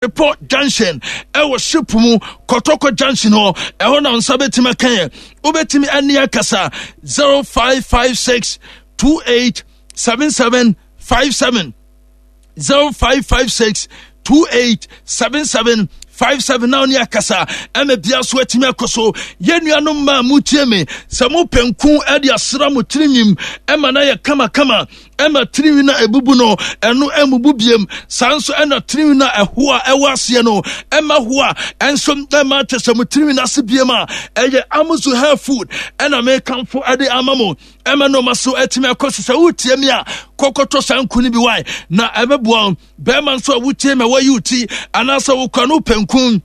Bepɔ Junction ɛwɔ ship mu Kɔtɔkɔ Junction hɔ ɛhɔ na nsa bɛtumi aka yɛ wobɛtumi ɛne akasa 0556 28 77 57 0556 28 77 57 na ɔne akasa ɛma bia so atumi akɔ so yɛn nuanom mmaa mu tie me sɛ mo pɛnku ɛde asra mo tirinwim ɛma no ayɛ kamakama ɛma tirinwi no a ebubu no ɛno ɛmubu biem saa nso ɛna tirinwi no a ɛho a ɛwɔ aseɛ no ɛma ho a ɛnso ɛma kyɛ sɛ mo tirinwi no ase biem a ɛyɛ amuzu hair food ɛna mekamfo ɛde ama mo ɛma nneɛma so ɛtumi akɔ so sɛ wotie mi a kɔkɔtɔ saa nku no bi wae na ɛbɛboa bɛrima nso a wotie ma wɔyi wo ti anaasɛ wokura no pɛnkun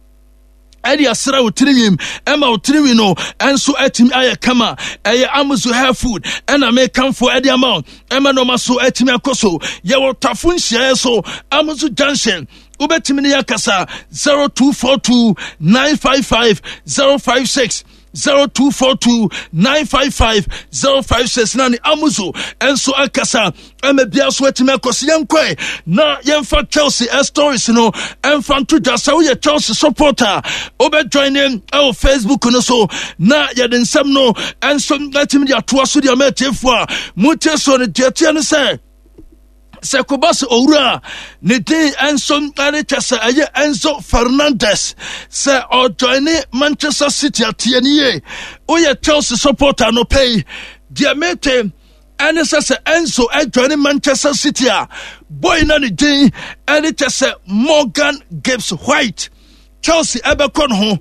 ɛde asra wo tirinwim ɛma wo tirinwi no ɛnso atumi ayɛ kama ɛyɛ amuzu hair food ɛna mekamfo ɛde ama wo ɛma nneɛma so atumi akɔ so yɛwɔ tafo nhyiaeɛ so amuzu junction wobɛtumi ne yɛakasa 0242 955 056 0242 955 056 na ne amuzo nso akasa ɛma bia so atumi akɔ so yɛnkɔe na yɛmfa Chelsea eh, stories no ɛmfa nto dwa sɛ woyɛ Chelsea supporter wobɛjoin ne ɛwɔ Facebook no so na yɛde nsɛm no ɛnso atumi de atoa so de ama atiefoɔ a motie so no deɛ teɛ no sɛ sɛ kɔba sɛ owura a ne din nso ne kyɛ sɛ ɛyɛ Enzo Fernandez sɛ ɔjoine Manchester City ateɛ ne yie woyɛ Chelsea supporter no pɛ yi deɛ mete ɛne sɛ sɛ Enzo ɛjoine Manchester City a boy na ne din ɛne kyɛ sɛ Morgan Gibbs White Chelsea ɛbɛkɔ ne ho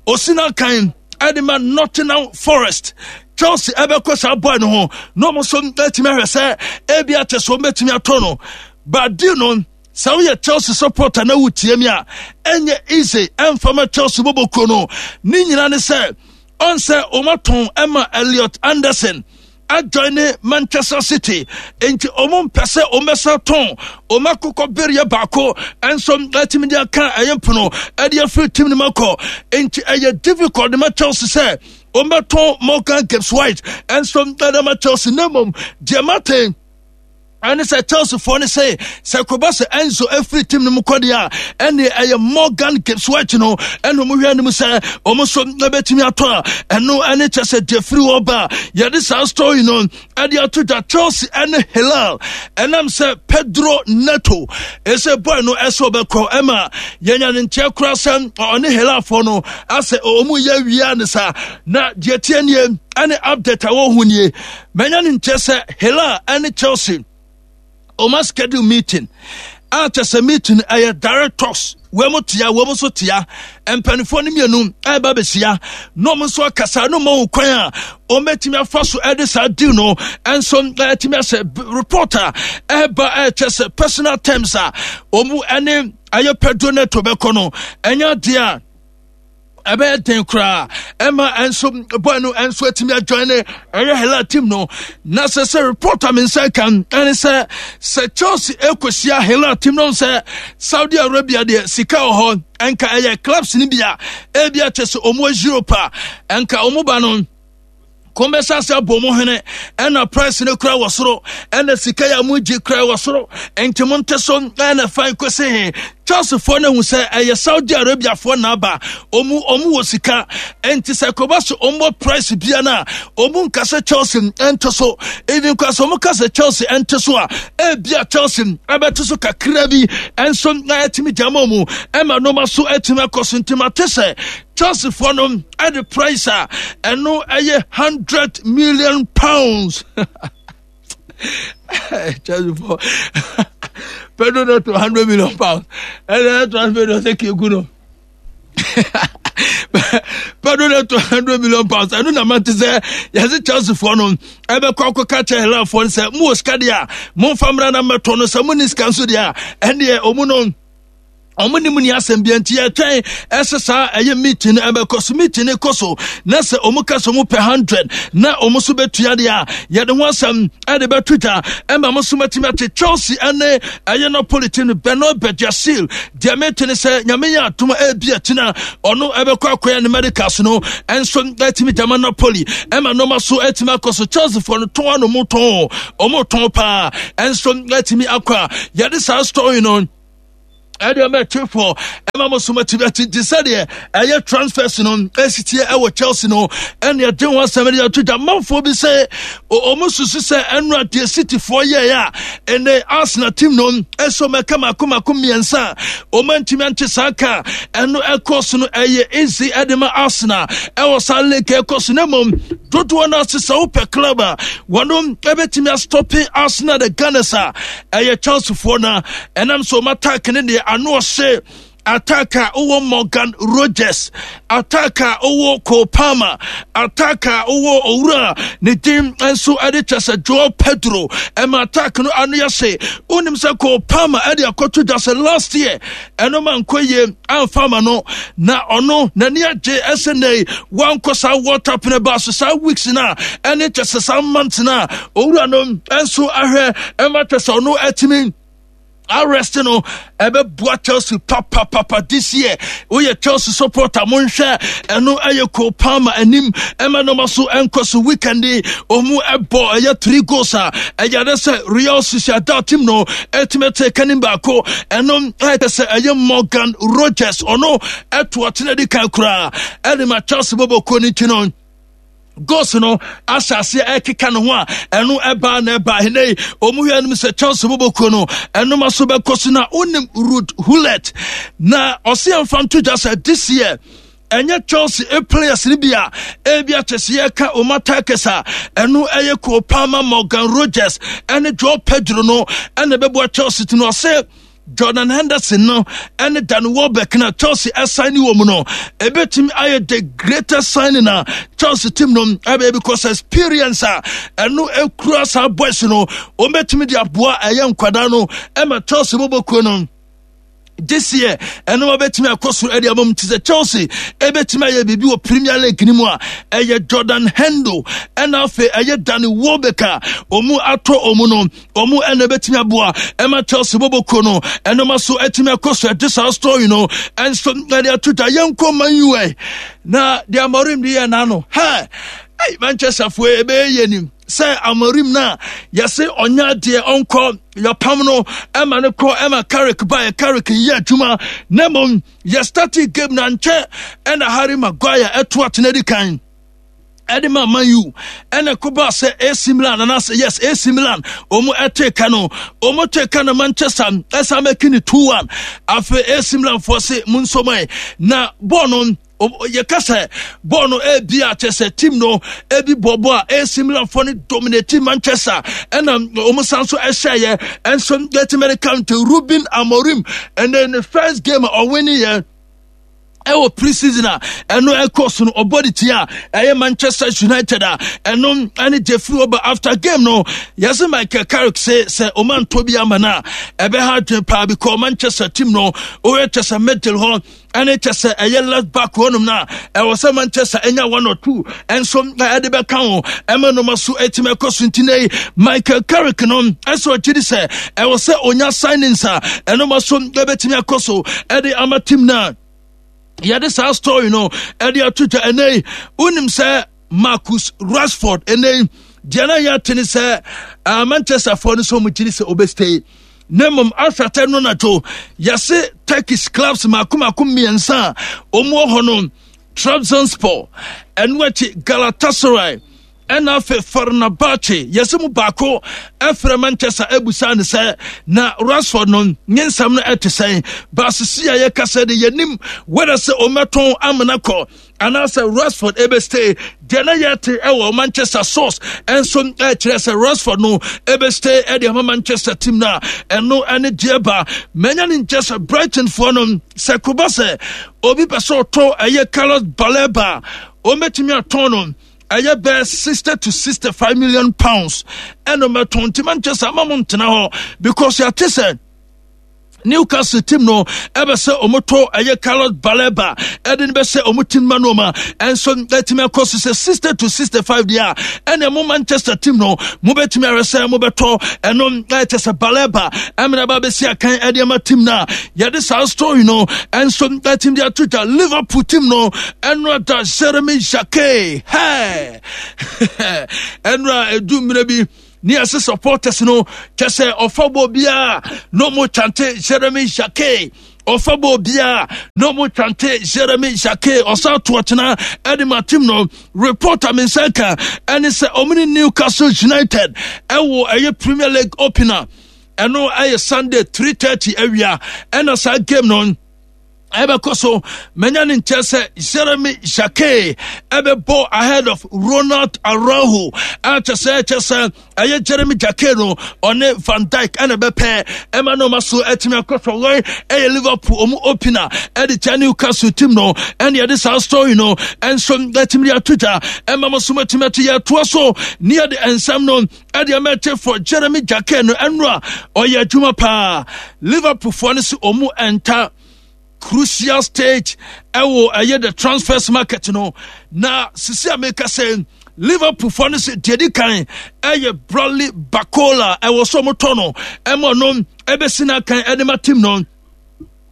osi n'akan ɛde ma Nottingham Forest Chelsea ɛbɛkɔ saa boy no ho na wɔn nso ɛtumi ahwɛ sɛ ebi akyɛ so wɔn bɛtumi atɔ no but deal no sɛ woyɛ Chelsea supporter na wotie mi a ɛnyɛ easy ɛmfa ma Chelsea bɔbɔ kuo no ne nyinaa ne sɛ ɔn sɛ wɔn atɔn ɛma Elliot Anderson adjoine Manchester City nti wɔn mpɛ sɛ wɔn bɛsa tɔn wɔn akokɔ bereɛ baako nso atumi de aka ɛyɛ mpono ɛde afiri team no mu akɔ nti ɛyɛ difficult de ma Chelsea sɛ wɔn bɛtɔn Morgan Gibbs White nso ɛde ma Chelsea na mmom deɛ mate ɛne sɛ Chelseafoɔ no sɛ sɛ kɔba sɛ Enzo afiri team no mu kɔ deɛ a ɛne ɛyɛ Morgan Gibbs White no ɛna ɔmo hwɛ anim sɛ ɔmo nso ɛbɛtumi atɔ a ɛno ɛne kyɛ sɛ deɛ firi hɔ ba yɛde saa story no ɛde ato dwa Chelsea ɛne Hilal ɛnam sɛ Pedro Neto ɛsɛ boy no ɛsɛ ɔbɛkɔ ɛma yɛnya ne nteɛ koraa sɛ ɔne Hilalfoɔ no asɛ ɔmo yɛ wia ne saa na deɛ tie nie ɛne update a wɔhu nie Manya no nkyɛ sɛ Hilal ne Chelsea ɔma schedule meeting a kyɛ sɛ meeting ɛyɛ direct talks wɔn mo tia wɔn nso tia mpanimfoɔ no mmienu ɛreba bɛhyia na wɔn nso akasa na wɔn ahu kwan a wɔn bɛtumi afa so ɛde saa deal no nso ɛtumi asɛ report a ɛreba ɛkyɛ sɛ personal terms a wɔn ɛne ɛyɛ Pedro Neto bɛkɔ no ɛnyɛ adeɛ a ɛbɛyɛ den koraa ɛma ɛnso boy no ɛnso atumi adwan ne ɛyɛ hela team no na sɛ sɛ report a me nsa kan ɛne sɛ sɛ Chelsea ɛkɔhyia hela team no sɛ Saudi Arabia deɛ sika wɔ hɔ ɛnka ɛyɛ clubs no bi a ebi akyɛ sɛ ɔmo Europe a ɛnka ɔmo ba no kɔn bɛsa ase abɔ mo hene ɛna price no kura wɔ soro ɛna sika yɛ mo gye kura wɔ soro nti mo nte so ɛna fan kɔsi he Chelsea foɔ no hu sɛ ɛyɛ Saudi Arabia foɔ na aba ɔmu ɔmu wɔ sika nti sɛ kɔba so ɔmu bɔ price bia no a ɔmu nka sɛ Chelsea nte so even kora sɛ ɔmu ka sɛ Chelsea nte so a ebia Chelsea ɛbɛte so kakra bi ɛnso na ɛtumi gyama ɔmu ɛma nneɛma so ɛtumi akɔ so nti mate sɛ Chelsea foɔ no ɛde price a ɛno ɛyɛ £100 million. Chelsea foɔ Pedro Neto £100 million ɛna ɛto 100 million sɛ keegu no Pedro Neto £100 million ɛno na mate sɛ yɛse Chelsea foɔ no ɛbɛkɔ akɔka kyɛ Helafoɔ no sɛ mowɔ sika deɛ a momfa mmra na mmɛtɔ no sɛ monni sika nso deɛ a ɛndeɛ ɔmu no ɔmo ne mu ni asɛm bia nti yɛtwɛn ɛsɛ saa ɛyɛ meeting no ɛbɛkɔ so meeting no kɔ so na sɛ ɔmo ka sɛ ɔmo pɛ 100 na ɔmo so bɛtua deɛ a yɛde ho asɛm ɛde bɛto dwa ɛma mo so matumi ate Chelsea ɛne ɛyɛ Napoli team no Benoit Badiashile deɛ mete ne sɛ nyame yɛ adom ɛbi akyina ɔno ɛbɛkɔ akɔyɛ ne medicals no ɛnso ɛtumi gyama Napoli ɛma nneɛma so ɛtumi akɔ so Chelsea foɔ no tɔn ano mo tɔn ɔmo tɔn paa ɛnso ɛtumi akɔ a yɛde saa story no ɛde ɔmɛ twe fɔ. Ɛma mo so matumi ate nti sɛdeɛ ɛyɛ transfers no ɛsitie ɛwɔ Chelsea no ɛne ɛde ho asɛm de ato dwa. Manfoɔ bi sɛ ɔmo susu sɛ ɛno adeɛ Cityfoɔ yɛɛ a ɛnɛ Arsenal team no ɛsɛ ɔmo ɛka mako mako mmiɛnsa a ɔmo antumi ante saa ka ɛno ɛkɔ so no ɛyɛ easy ɛde ma Arsenal ɛwɔ saa league ɛkɔ so na mmom dodoɔ no ase sɛ wopɛ club a wɔnom ɛbɛtumi astɔpe Arsenal the Gunners a ɛyɛ Chelseafoɔ no ɛnam sɛ ɔma attack ne deɛ ano ɔhye attack a wowɔ Morgan Rogers, attack a wowɔ Cole Palmer, attack a wowɔ owura ne din nso ɛde kyɛ sɛ Joao Pedro ɛma attack no ano yɛ se wonim sɛ Cole Palmer ɛde akɔto dwa sɛ last year ɛno ma nkɔ yie amfa ama no na ɔno n'ani agye ɛsɛ nnɛ yi wankɔ saa World Cup no ba so saa weeks no a ɛne kyɛ sɛ saa month no a owura no nso ahwɛ ɛma kyɛ sɛ ɔno atumi arrest no ɛbɛboa Chelsea papapapa this year. Woyɛ Chelsea supporter, monhwɛ ɛno ɛyɛ Cole Palmer anim ɛma nɔma so ɛnkɔ so. Weekend yi ɔmu ɛbɔ ɛyɛ three goals a ɛyɛ ade sɛ Real Sociedad team no ɛtumi ɛte kanim baako. Ɛno ɛyɛ sɛ ɛyɛ Morgan Rogers ɔno ɛto ɔtena di kan koraa ɛde ma Chelsea bɔbɔ kuo no ti no goals no ahyɛ aseɛ ɛkeka ne ho a ɛno ɛbaa na ɛbaa hene yi ɔmu hwɛ anim sɛ Chelsea bɔbɔkuo no ɛnoma so bɛkɔ so. Na wonim Ruud Gullit na ɔse ɛmfa nto dwa sɛ this year ɛnyɛ Chelsea e players no bi a ebi akyɛ sɛ yɛka wɔn attackers a ɛno ɛyɛ Cole Palmer, Morgan Rogers ɛne Joao Pedro no ɛna ɛbɛboa Chelsea ti no. Ɔse Jordan Henderson no ɛne Danny Welbeck na Chelsea ɛsan ne wɔ mu no ebetumi ayɛ the greatest signing na Chelsea team no ɛbɛyɛ because experience a ɛno ekura saa boys no wɔn bɛtumi de aboa ɛyɛ nkwadaa no ɛma Chelsea bɔbɔ kuo no this year ɛno wabɛtumi akɔ soro ɛde ama mu. Ti sɛ Chelsea ɛbɛtumi ayɛ biribi wɔ Premier League no mu a, ɛyɛ Jordan Hendo ɛna afei ɛyɛ Danny Welbeck a ɔmu atɔ ɔmu no ɔmu ɛna ɛbɛtumi aboa ɛma Chelsea bɔbɔ kuo no ɛnoma so ɛtumi akɔ so. Ɛde saa story no ɛnso ɛde ato dwa. Yɛnkɔ Man U ɛ na deɛ Amorim de yɛ n'ano hɛ ɛy Manchester foɔ ɛbɛyɛ yɛ nim sɛ Amorim no a yɛse ɔnyɛ adeɛ ɔnkɔ yɛpam no ɛma no kɔ ɛma Carrick baeɛ. Carrick yɛ adwuma na mmom yɛ starting game na nkyɛ ɛna Harry Maguire ɛto atena di kan ɛde ma Man U ɛna kɔba sɛ AC Milan anaasɛ yes AC Milan wɔn ɛte ka no wɔn te ka no Manchester ɛsan mɛki ne 2-1. Afei AC Milan foɔ se mu nsɔmɔ na bɔɔl no yɛka sɛ bɔɔl no ebi a kyɛ sɛ team no ebi bɔɔbɔ a AC Milan foɔ no dominate Manchester ɛna wɔn san so ɛhyɛeɛ ɛnso yɛtumi de count Ruben Amorim ɛnɛ ne first game a ɔwini yɛ ɛwɔ pre-season a ɛno ɛkɔ so no ɔbɔ de tia ɛyɛ Manchester United a ɛno ɛne Jeffrey Oba. After game no yɛsɛ Michael Carrick sɛ sɛ ɔma ntɔ bi ama no a ɛbɛha adwene paa because Manchester team no ɔyɛ kyɛ sɛ middle hɔ ɛne kyɛ sɛ ɛyɛ left back hɔnom no a ɛwɔ sɛ Manchester ɛnya one or two ɛnso ɛde bɛka ho ɛma noma so ɛtumi ɛkɔ so. Nti nei Michael Carrick no ɛsɛ ɔgye di sɛ ɛwɔ sɛ ɔnya signings a ɛnoma so ɛbɛtumi akɔ so ɛde ama team no a yɛde saa story no ɛde ato dwa. Ɛnɛ yi wonim sɛ Marcus Rashford ɛnɛ yi deɛ na yɛate ne sɛ Manchester foɔ no sɛ ɔmo gyiri sɛ ɔbɛstay na mmom asatɛ no nadwo yɛse Turkish clubs mako mako mmiɛnsa a wɔn wɔ hɔ no, Trabzonspor, ɛno akyi Galatasaray, ɛna afei Fenerbahce. Yɛsɛ mu baako ɛfrɛ Manchester ɛbusa ne sɛ na Rashford no ne nsɛm no ɛte sɛn. Baasisi a yɛka sɛ de yɛnim wɛdɛ sɛ ɔmɛtɔn amena kɔ anaasɛ Rashford ɛbɛstay. Deɛ na yɛte ɛwɔ Manchester source ɛnso ɛkyerɛ sɛ Rashford no ɛbɛstay ɛde ama Manchester team no a ɛno ɛne deɛ ba manya ne nkyɛ sɛ Brighton foɔ no sɛ koba sɛ obi pɛ sɛ ɔtɔ ɛyɛ Carlos Baleba, ɔmɛtumi atɔn no ɛyɛ bɛɛ £60 to £65 million ɛno mɛtɔn. Nti Manchester ama mo ntena hɔ because yɛate sɛ Newcastle team no ɛbɛ sɛ ɔmotɔ ɛyɛ Carlos Baleba ɛde no bɛsɛ ɔmo team ma no ma ɛnso ɛtumi akɔ so sɛ 60 to 65 deɛ a ɛna mo Manchester team no mobɛtumi ahwɛ sɛ mobɛtɔ ɛno ɛkyɛ sɛ Baleba ɛmena ba bɛsi akan ɛde ama team no a yɛde saa story no ɛnso ɛtumi de ato dwa. Liverpool team no ɛno ada Jeremy Jacquet hɛ ɛno a ɛdu mmerɛ bi ne yɛsɛ supporters no kyɛ sɛ ɔfa bɔ biara na ɔmo chante Jeremy Jacquet. Ɔfa bɔ obiara na ɔmo twante Jeremy Jacquet ɔsan to ɔkyena ɛde ma team no. Report a me nsa ka ɛne sɛ ɔmo ne Newcastle United ɛwɔ ɛyɛ Premier League opener ɛno ɛyɛ Sunday 3:30 awia ɛna saa game no ɛbɛkɔ so. Manya ne nkyɛn sɛ Jeremy Jacquet ɛbɛbɔ ahead of Ronald Araujo ɛkyɛ sɛ ɛkyɛ sɛ ɛyɛ Jeremy Jacquet no ɔne Van Dijk ɛna ɛbɛpɛ ɛma no ɔma so ɛtumi akɔ so. Wɔn ɛyɛ Liverpool ɔmo opener ɛde kyɛ Newcastle team no ɛne ɛde saa story no ɛnso ɛtumi de ato dwa ɛma mo so ɛtumi ato yɛ ɛtoa so ne yɛde nsɛm no ɛde ɛma ɛte for Jeremy Jacquet no ɛno a ɔyɛ adwuma paa. Liverpool foɔ no so ɔmo ɛnta crucial stage ɛwɔ ɛyɛ the transfers market no na sisi a meka sɛ Liverpool foɔ no sɛ deɛ di kan ɛyɛ Bradley Barcola ɛwɔ so ɔmo tɔ no ɛma no ɛbɛsi n'akan ɛde ma team no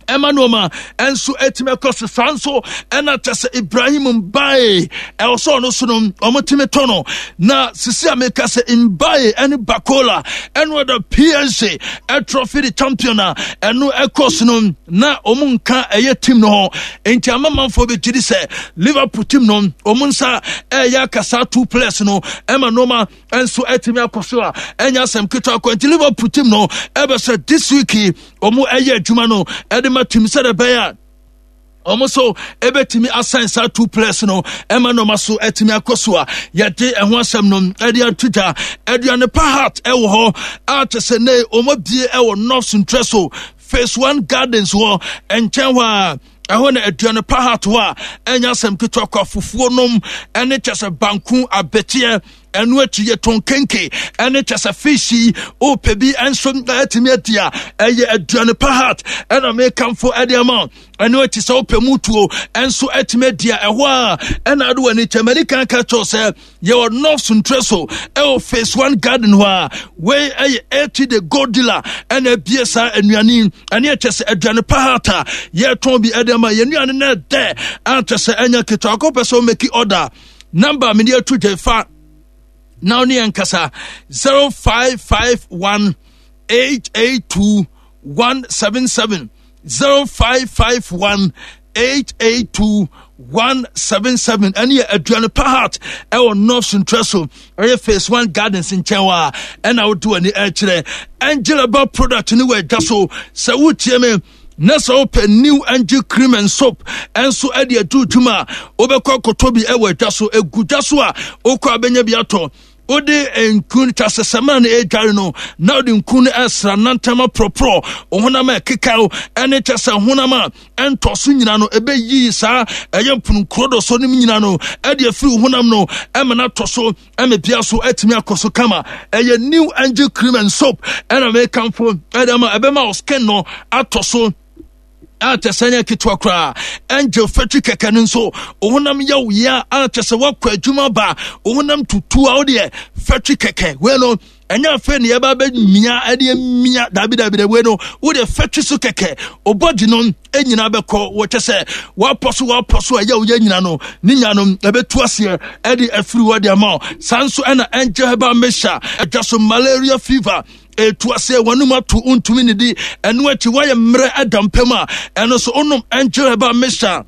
ɛma nneɛma ɛnso ɛtumi ɛkɔ so. Saa nso ɛna kyɛ sɛ Ibrahim Mbaye ɛwɔ sɛ ɔno so no ɔmo tumi tɔ no na sisi a meka sɛ Mbaye ɛne Barcola ɛno ɛda PSG ɛtrɔfi de champion a ɛno ɛkɔ so no na ɔmo nka ɛyɛ team no ho nti ama manfoɔ bɛ gyidi sɛ Liverpool team no ɔmo nsa ɛyɛ akasa two players no ɛma nneɛma nso ɛtumi akɔ so a ɛnyɛ asɛm ketewa kɔ. Nti Liverpool team no ɛbɛ sɛ this week ɔmo ɛyɛ adwuma no ɛde ma team sɛ ɛbɛyɛ a ɔmo so ɛbɛtumi asan saa two players no ɛma nneɛma so ɛtumi akɔ so a yɛde ɛho asɛm no ɛde ato dwa. Aduane Pa Heart ɛwɔ hɔ a kyɛ sɛ ne ɔmo abie ɛwɔ North Ntrɛ so Phase 1 Gardens hɔ nkyɛn hɔ a ɛhɔ na Aduane Pa Heart hɔ a ɛnyɛ asɛm ketewa kɔ. Afufuo nom ɛne kyɛ sɛ banku abɛteɛ ɛno akyi yɛtɔn kenke ɛne kyɛ sɛ fish yi wopɛ bi nso atumi adi a ɛyɛ Aduane Pa Heart ɛna mekamfo ɛde ama. Ɛno akyi sɛ wopɛ mu tuo nso atumi adi a ɛhɔ a ɛna ade w'ani kyɛ. Mani kan ka kyerɛw sɛ yɛwɔ North Ntrɛ so ɛwɔ Phase 1 Garden hɔ a wei ɛyɛ ɛti the gold dealer ɛna abie saa anuane ɛne ɛkyɛ sɛ Aduane Pa Heart a yɛtɔn bi ɛde ama yɛn nnuane no ɛdɛ akyɛ sɛ ɛnyɛ ketewa. Akɔpɛ sɛ womake order, number mede ato dwa fa na wo ne yɛn kasa 0551 882 177, 0551 882 177. Ɛne yɛ Aduane Pa Heart ɛwɔ North Ntrɛ so ɛyɛ Phase 1 Gardens nkyɛn hɔ a ɛna wode w'ani ɛkyerɛ. Angel Herbal product ne wɔ adwa so. Sɛ wotie me na sɛ wopɛ New Angel cream and soap ɛnso ɛde adu dwuma a wobɛkɔ akɔtɔ bi ɛwɔ adwa so. Ɛgu dwa so a wokɔ abɛnya bi atɔ. Wode nku ta sɛ sɛmina no ɛredware no na wode nku no ɛsra nantam aporɔporɔ honam a ɛkekaw ɛne kyɛ sɛ honam a ɛntɔ so nyina no ɛbɛyiyi saa ɛyɛ mpononkuro dɔ so no nyina no ɛde afiri honam no ɛma no atɔ so ɛma bia so atumi akɔ so kama. Ɛyɛ New Angel cream and soap ɛna mekamfo ɛde ama ɛbɛma wo skin no atɔ so a kyɛ sɛ nyɛ ketewa koraa. Angel Factory kɛkɛ no nso honam yɛ wo yea a kyɛ sɛ woakɔ adwuma ba honam tutu a wodeɛ factory kɛkɛ wei no ɛnyɛ afei ne yɛba bɛmia ɛde mia dabi dabi dabi. Wei no wodeɛ factory so kɛkɛ obɔdi no nyinaa bɛkɔ wɔkyɛ sɛ woapɔ so woapɔ so ɛyɛ woyɛ nyina no ne nya no ɛbɛtu aseɛ ɛde afiri hɔ de ama wo. Saa nso ɛna Angel Herbal Mixture ɛdwa so malaria fever ɛtu aseɛ wɔnom ato ntumi ne di ɛno akyi woayɛ mmerɛ ɛda mpam a ɛno so wonom Angel Herbal Mixture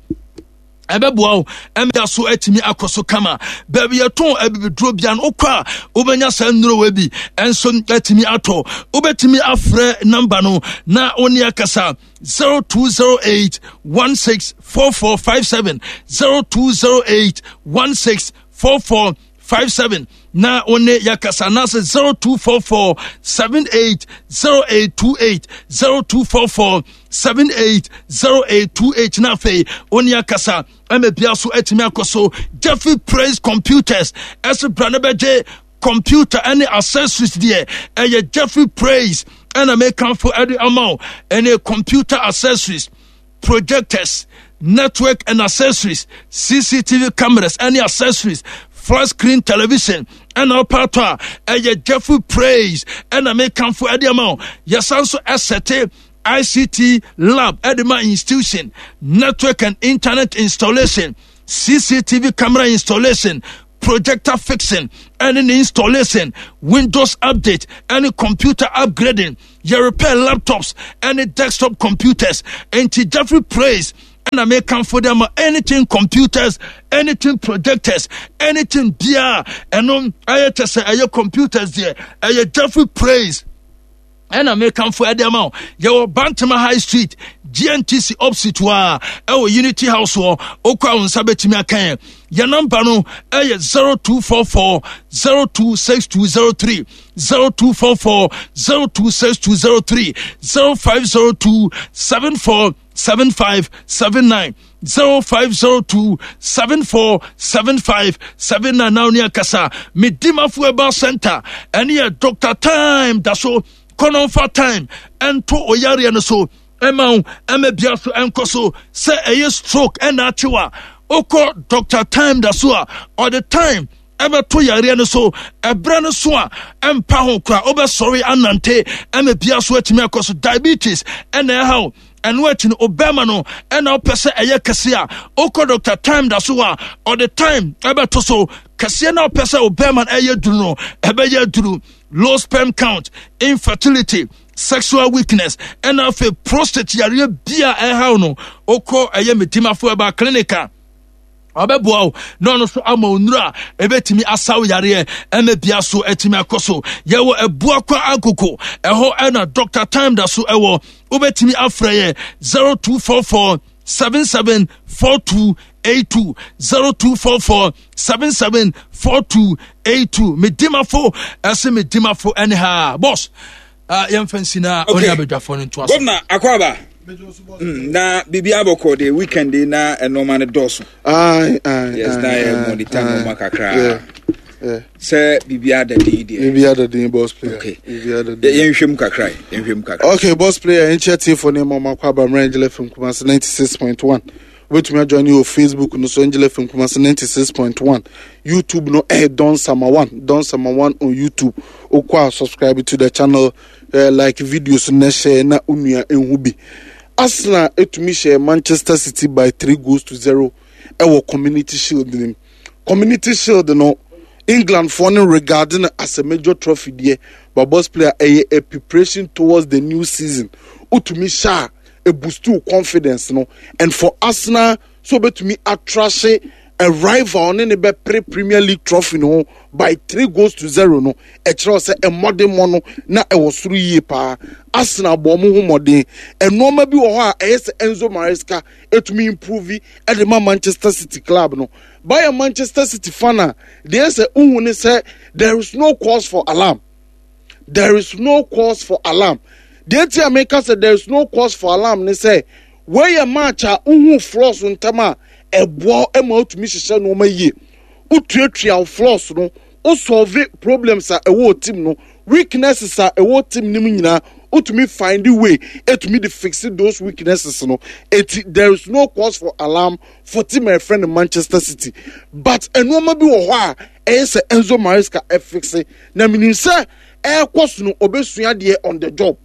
ɛbɛboa wo ɛmda so atumi akɔ so kama. Baabi yɛtɔn abibiduro bia no wokɔ a wobɛnya saa nnuro wɔ bi ɛnso atumi atɔ. Wobɛtumi afrɛ namba no na wo ne akasa 0208 164457, 0208 164457 na wo ne yɛkasa anaasɛ 0244 780828, 0244 780828 na afei wo ne akasa ɛma bia so atumi akɔ so. Jeffrey Praise Computers ɛso bra no bɛgye computer ɛne accessories deɛ ɛyɛ Jeffrey Praise ɛna mekamfo ɛde ama wo. Ɛne computer accessories, projectors, network and accessories, CCTV cameras ɛne accessories, flat screen television ɛna ɔpaatɔ a ɛyɛ Jeffrey Praise ɛna mekamfo ɛde ama wo. Yɛsan so ɛsɛte ICT lab ɛde ma institution, network and internet installation, CCTV camera installation. Projector fixing ɛne ne installation, Windows update ɛne computer upgrading. Yɛ repair laptops ɛne desktop computers. Enti Jeffrey Praise ɛna mekamfo de ama anything computers, anything projectors, anything biara ɛno ɛyɛ kyɛ sɛ ɛyɛ computers deɛ ɛyɛ Jeffrey Praise ɛna mekamfo ɛde ama wo. Yɛwɔ Bantama High Street, GNTC opposite hɔ a ɛwɔ Unity House hɔ. Wokɔ a wo nsa bɛtumi aka yɛn. Yɛn namba no ɛyɛ 0244 026203, 0244 026203, 0502 74 7579, 0502 74 7579. Na wo ne akasa. Medimafo Herbal Center ɛne yɛ Dr. Time da so kɔnɔmfa time ɛnto oyareɛ no so ɛma wo ɛma bia so ɛnkɔ so. Sɛ ɛyɛ stroke ɛna akyew a, wokɔ Dr. Time da so a ɔde time ɛbɛto yareɛ no so. Ɛberɛ no so a ɛmpa ho kora wobɛsɔre anante ɛma bia so atumi akɔ so. Diabetes ɛna ɛha wo, ɛno akyi no obɛma no ɛna wopɛ sɛ ɛyɛ kɛse a, wokɔ Dr. Time da so a ɔde time ɛbɛto so kɛseɛ na wopɛ sɛ obɛma no ɛyɛ duru no ɛbɛyɛ duru. Low sperm count, infertility, sexual weakness ɛna afei prostate yareɛ bi a ɛhaw no, wokɔ ɛyɛ Medimafo Herbal Clinic a ɔbɛboa wo na ɔno nso ama wo nnuro a ɛbɛtumi asaw yareɛ ɛma bia so atumi akɔ so. Yɛwɔ Abuakwa Agogo, ɛhɔ ɛna Dr. Time da so ɛwɔ. Wobɛtumi afrɛ yɛ 0244 774282, 0244 774282. Medimafo ɛse medimafo ɛne ha boss. Yɛmfa nsi na ɔne abadwafoɔ no ntoa so. Gɔvna Akwaaba, na biribi abɔkɔ de weekend na nneɛma no dɔɔso. Yes, na yɛ monitor nneɛma kakra. Sɛ biribi ada din deɛ. Biribi ada din, boss player. Okay. Biribi ada din. Yɛnhwɛ mu kakra, yɛnhwɛ mu kakra. Okay, boss player, nkyɛ tiefo ne ma ɔmakɔ aba mmerɛ Angel FM Kumasi 96.1. Wobɛtumi ajoin wɔ Facebook no so, Angel FM Kumasi 96.1. YouTube no ɛyɛ Don Sama 1, Don Sama 1 on YouTube. Wokɔ a subscribe to the channel, like videos na share na onua ehu bi. Arsenal etumi hyɛ Manchester City by 3 goals to 0 ɛwɔ Community Shield nim. Community Shield no, England foɔ no regard no as a major trophy deɛ, but boss player, ɛyɛ a preparation towards the new season. Wotumi hyɛ a eboost wo confidence no, and for Arsenal so obetumi atrahye a rival ne ne bɛpere Premier League trophy no ho by 3 goals to 0 no, ɛkyerɛ sɛ mmɔdemmɔ no na ɛwɔ soro yie paa. Arsenal bɔ ɔmo ho mmɔden. Nneɛma bi wɔ hɔ a ɛyɛ sɛ Enzo Maresca etumi improve ɛde ma Manchester City club no. Bayɛ Manchester City fan a, deɛ sɛ uhu ne sɛ there is no cause for alarm. There is no cause for alarm. Deɛ ti a meka sɛ there is no cause for alarm ne sɛ wɔyɛ match a uhu flaws ntam a ɛboa ma otumi hyehyɛ nneɛma yie. Wotuatua wo flaws no, wo solve problems a ɛwɔ team no, weaknesses a ɛwɔ team no mu nyinaa, wotumi find way etumi de fix those weaknesses no. Eti there is no cause for alarm for team a yɛfrɛ no Manchester City. But nneɛma bi wɔ hɔ a ɛyɛ sɛ Enzo Maresca ɛfixe, na menim sɛ ɛrekɔ so no obesua deɛ on the job.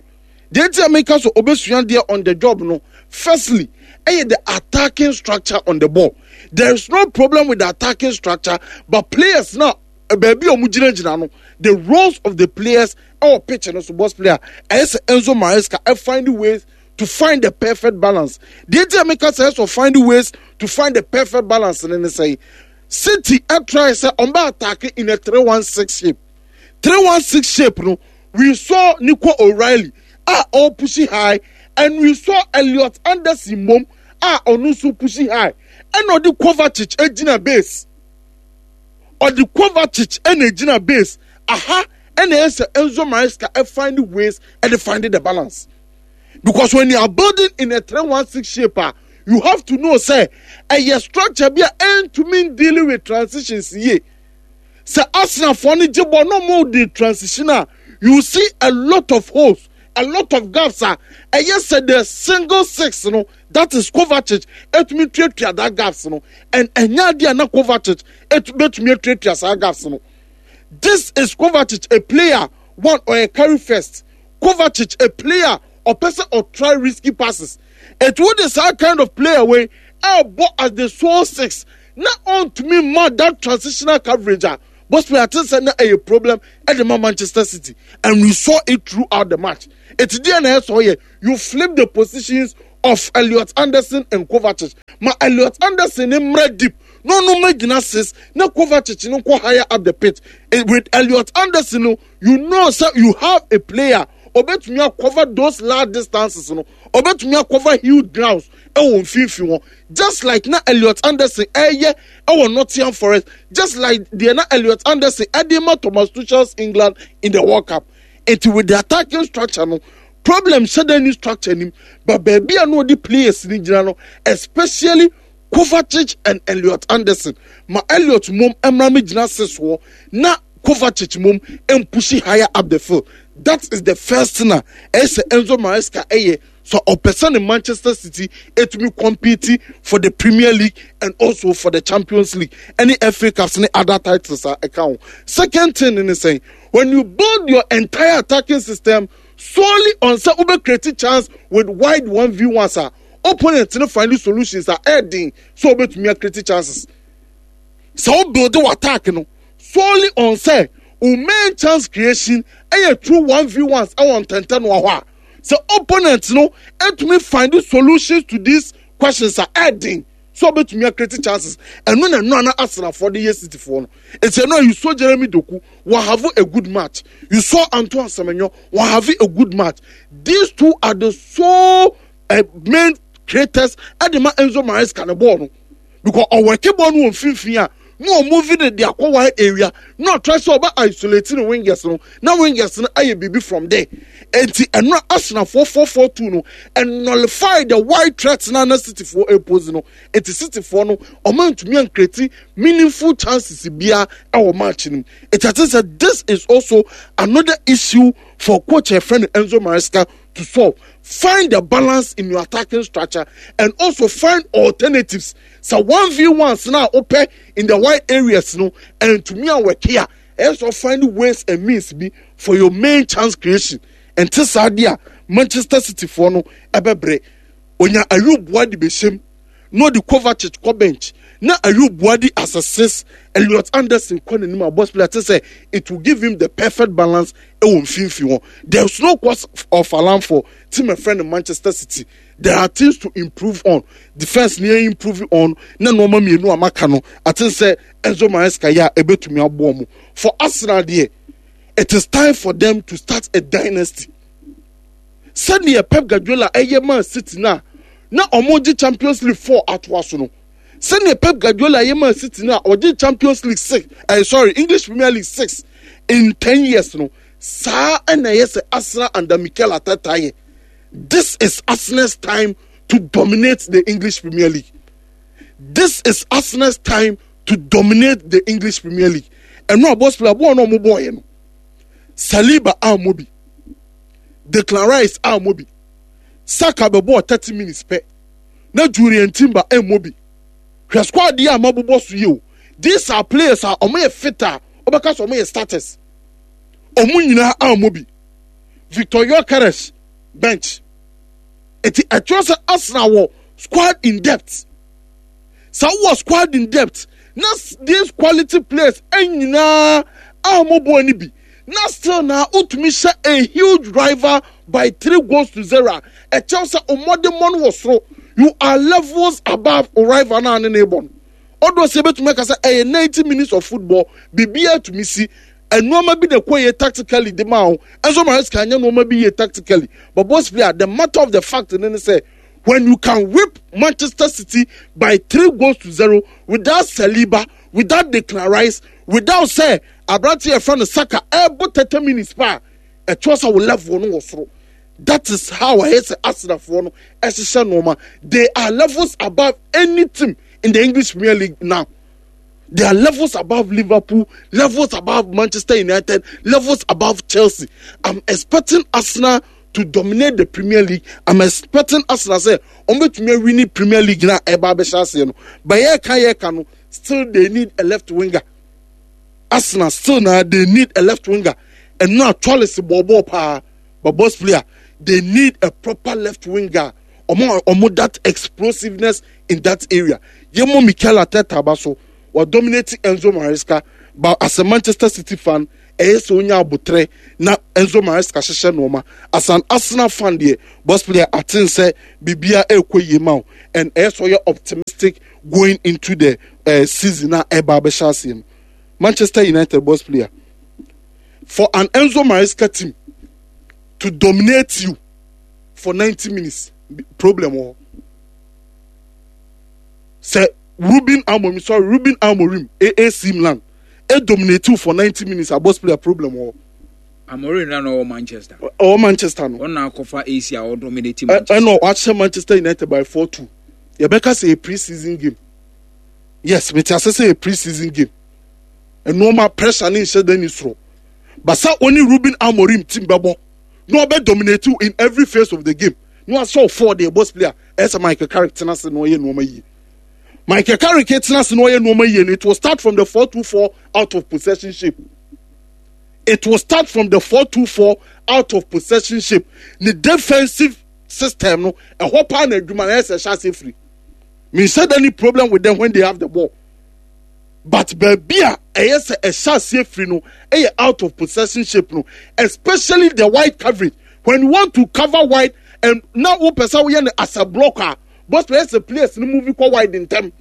Deɛ nti a meka so obesua deɛ on the job no, firstly ɛyɛ the attacking structure on the ball. There is no problem with the attacking structure, but players now baabi a wɔn gyinagyina no, the roles of the players ɛwɔ pitch no so, boss player, ɛyɛ sɛ Enzo Maresca ɛfind ways to find the perfect balance. Deɛ nti a meka sɛ ɛsɛ find ways to find the perfect balance ne ne sɛn, City ɛtry sɛ ɔmo bɛ attack in a 3-1-6 shape. 3-1-6 shape no, we saw Nico O'Reilly a ɔrepushi high, and we saw Elliot Anderson mom a ɔno nso pushi high, ɛna ɔde Kovacic egyina base. Ɔde Kovacic ɛna egyina base. Aha ɛna ɛyɛ sɛ Enzo Maresca ɛfind ways ɛde find the balance. Because when you are building in a 3-1-6 shape a, you have to know sɛ ɛyɛ structure bi a ɛntumi dealing with transitions yie. Sɛ Arsenalfoɔ no gye bɔ na ɔmo de transition a, you see a lot of holes, a lot of gaps a ɛyɛ sɛ the single six no, that is Kovacic, ɛtumi tuatua that gaps no, and ɛnyɛ adeɛ a na Kovacic ɛtumi atuatua saa gaps no. This is Kovacic, a player one ɔyɛ carry first. Kovacic, a player ɔpɛ sɛ ɔtry risky passes. It would saa kind of player wei ɛɛbɔ as the sole six. na ɔntumi mma that transitional coverage a boss player ate sɛ na ɛyɛ problem ɛde ma Manchester City and we saw it throughout the match. Eti deɛ na ɛsɛ ɔyɛ you flip the positions of Elliot Anderson and Kovacic ma Elliot Anderson ne mmerɛ deep na ɔno mmerɛ gyina six na Kovacic no nkɔ higher up the pitch eh, with Elliot Anderson no you know sɛ you have a player obetumi acover those large distances no obetumi acover huge grounds ɛwɔ mfimfini hɔ just like na Elliot Anderson ɛyɛ ɛwɔ Nottingham Forest just like deɛ na Elliot Anderson ɛde ma Thomas Tuchel's England in the World Cup eti with the attacking structure no problem hyɛ dɛ ni structure nim but baabi a na ɔde players ni gyina no especially Kovacic and Elliot Anderson ma Elliot mom mmra mi gyina six hɔ na Kovacic mom mpushi higher up the field that is the first thing a ɛyɛ sɛ Enzo Maresca ɛyɛ so ɔpɛ sɛ ne Manchester City etumi compete for the Premier League and also for the Champions League ɛne FA Cups ne other titles a ɛka ho second thing ne sɛn when you build your entire attacking system solely on sɛ wobɛ create chance with wide one v ones a opponent no find solutions a ɛɛden sɛ wobɛtumi acreate chances sɛ wo build wɔ attack no solely on sɛ wo main chance creation ɛyɛ through one v ones ɛwɔ ntɛntɛnoa hɔ a sɛ opponent no ɛtumi find solutions to these questions a ɛɛden sɛ ɔbɛtumi acreate chances ɛno na ɛno ana Arsenalfoɔ de yɛ Cityfoɔ no eti ɛno a you saw Jeremy Doku wɔ have a good match you saw Antoine Semenyo wɔ have a good match these two are the sole uh, main creators ɛde ma Enzo Maresca ne bɔɔl no because ɔwɔke bɔɔl no wɔ mfimfini a na ɔmove no de akɔ wide area na ɔtry sɛ ɔbɛ isolate ne wingers no na wingers no ayɛ biribi from there enti ɛno a Arsenalfoɔ 4-4-2 no ɛnullify the wide threat na na Cityfoɔ ɛpose no enti Cityfoɔ no ɔma ntumi ancreate meaningful chances bia ɛwɔ match no mu eti ate sɛ this is also another issue for coach ɛfrɛ no Enzo Maresca to solve find the balance in your attacking structure and also find alternatives sɛ one v ones na wopɛ in the wide areas no ɛntumi awɔke a ɛyɛ sɛ find ways and means bi for your main chance creation ɛnte saa deɛ a Manchester City foɔ no ɛbɛbrɛ onya Ayub Boadi bɛhyɛm na ɔde Kovacic kɔ bench na Ayub Boadi as a six Elliot Anderson kɔ n'anim a boss player te sɛ it will give him the perfect balance ɛwɔ mfimfini hɔ there is no cause of alarm for team ɛfrɛ no Manchester City there are things to improve on defence ni yɛ improve on na nneɛma mmienu a maka no ate sɛ Enzo Maresca yɛ a ɛbɛtumi aboɔ mo for Arsenal deɛ it is time for them to start a dynasty sɛdeɛ Pep Guardiola ɛyɛ maa City no a na wɔn gye Champions League four atoa so no sɛdeɛ Pep Guardiola ɛyɛ maa City no a ɔgye Champions League six ɛɛ eh, sorry English Premier League six in ten years no saa ɛna ɛyɛ sɛ Arsenal under Mikel Arteta yɛ this is Arsenal's time to dominate the English Premier League this is Arsenal's time to dominate the English Premier League ɛno a boss player bɔɔl no a wɔn bɔɔl yɛ no Saliba ammɔ bi Declan Rice ammɔ bi Saka bɛbɔɔ 30 minutes pɛ na Julian Timber ammɔ bi hwɛ squad yi a mabobɔ so yi o these are players a wɔn yɛ fit a wɔbɛka sɛ wɔn yɛ starters wɔn nyinaa ammɔ bi Victor Gyökeres bench eti ɛkyerɛ sɛ Arsenal wɔ squad in depth sɛ wowɔ squad in depth na these quality players nyinaa a wɔbɔ ani bi na still na wotumi hyɛ a huge rival by three goals to zero a ɛkyɛw sɛ ɔmmɔdemmɔ no wɔ soro you are levels above rival no a ne ne bɔ no ɔdɔ sɛ ebetumi aka sɛ ɛyɛ ninety minutes of football biribiara tumi si nneɛma bi na ɛkɔ yie tactically de ma wo Enzo Maresca anyɛ nneɛma bi yie tactically but boss player the matter of the fact ne ne sɛ when you can whip Manchester City by three goals to zero without Saliba without Declan Rice without sɛ aberante yɛ fɛ no Saka ɛbɔ thirty minutes pa a ɛkyerɛ sɛ wo level no wɔ soro that is how ɛyɛ sɛ Arsenalfoɔ no ɛhyehyɛ nneɛma they are levels above any team in the English Premier League now. They are levels above Liverpool, levels above Manchester United, levels above Chelsea. I'm expecting Arsenal to dominate the Premier League. I'm expecting Arsenal sɛ wɔn bɛtumi awini Premier League na ɛba abɛhyɛ aseɛ no. But yɛka yɛka no, still they need a left winger. Arsenal still na they need a left winger. Ɛno a Chalice bɔɔbɔɔ paa, but boss player they need a proper left winger. Ɔmo ɔmo that explosiveness in that area. Yɛmmɔ Mikel Arteta aba so. Wa dominate Enzo Maresca, but as a Manchester City fan, ɛyɛ sɛ onya abotrɛ na Enzo Maresca hyehyɛ nneɛma. As an Arsenal fan deɛ, boss player aten sɛ biribiara ɛrekɔ yie ma wo and ɛyɛ sɛ ɔyɛ optimistic going into the season a ɛba abɛhyɛ aseɛ no. Manchester United boss player, for an Enzo Maresca team to dominate you for 90 minutes, problem wɔ hɔ. Sɛ Ruben Amorim, sorry, Ruben Amorim, AC Milan, e dominate you for 90 minutes, a boss player problem wɔ hɔ. Amorim na ɔwɔ Manchester. Ɔwɔ Manchester no. Ɔna akɔfa AC a ɔdominate Manchester. Ɛna ɔahyɛ Manchester United by 4-2. Yɛbɛka sɛ yɛ pre-season game. Yes, mete ase sɛ yɛ pre-season game. Nneɛma pressure ne nhyɛ da ni soro. Basa oni Ruben Amorim team bɛbɔ na ɔbɛ dominate you in every phase of the game. Na wasɛ ɔfɔɔ deɛ boss player ɛsɛ Michael Carrick tena ase na ɔyɛ nneɛma yie. Michael Carrick tena ase na ɔyɛ nneɛma yie no, it will start from the 4-2-4 out of possession shape. It will start from the 4-2-4 out of possession shape. Ne defensive system no, ɛhɔ paa na adwuma na ɛsɛ ɛhyɛ ase firi. Menhyɛ da ni problem with them when they have the ball. But baabi a ɛyɛ sɛ ɛhyɛ aseɛ firi no ɛyɛ out of possession shape no, especially the wide coverage. When you want to cover wide and na wopɛ sɛ woyɛ no as a block a, boss players sɛ players no move kɔ wide ntɛm.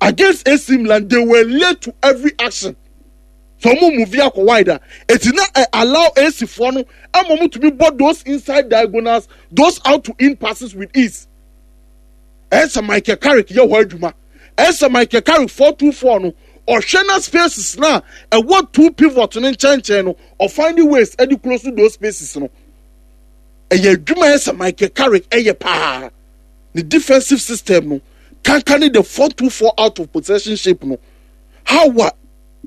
Against AC Milan, they were late to every action. So ɔmo move akɔ wide a, eti na ɛ allow AC foɔ no ɛma ɔmo tumi bɔ those inside diagonals, those out to in passes with ease. Ɛsɛ Michael Carrick yɛ hɔ adwuma. Ɛsɛ Michael Carrick 4-2-4 no, ɔhwɛ na spaces na ɛwɔ two pivot no nkyɛnkyɛn no, ɔfind ways ɛde close those spaces no. Ɛyɛ adwuma ɛsɛ Michael Carrick ɛyɛ paa. Ne defensive system no, kanka ne the 4-2-4 out of possession shape no. How a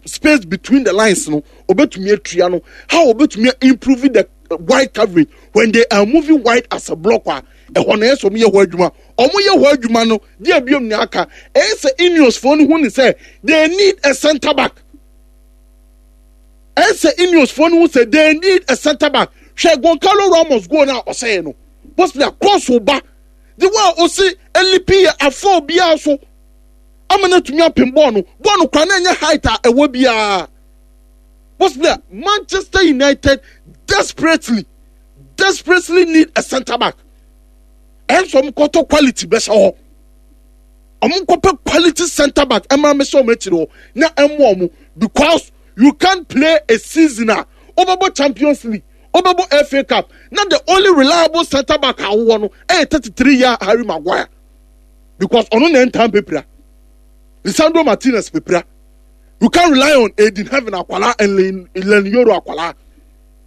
space between the lines no, obetumi atua no. How obetumi improve the wide coverage when they are moving wide as a block a ɛhɔ no ɛyɛ sɛ wɔyɛ hɔ adwuma. Wɔyɛ hɔ adwuma no, deɛ biom ne aka ɛyɛ sɛ Ineos foɔ no hu ne sɛ they need a centre back. Ɛyɛ sɛ Ineos foɔ no hu sɛ they need a centre back. Hwɛ Goncalo Ramos goal no a ɔsɛɛ no, possibly a cross ba de wa a ɔsi elipi yɛ afɔ obiara so ama no atumi apem bɔɔl no. Bɔɔl no kora na ɛnyɛ height a ɛwɔ biara. Possibly a Manchester United desperately desperately need a centre back. Ɛnso wɔn kɔtɔ quality bɛhyɛ hɔ. Wɔn kɔpɛ quality centre back ɛma mɛhyɛ wɔn akyiri hɔ na ɛmoa wɔn, because you can't play a season a wɔbɛbɔ Champions League, wɔbɛbɔ FA Cup na the only reliable centre back a wɔwɔ no ɛyɛ 33 year Harry Maguire, because ɔno na ɛntan pepra. Lisandro Martinez pepra. You can't rely on Aiden Heaven akwala and Len Yoro akwala.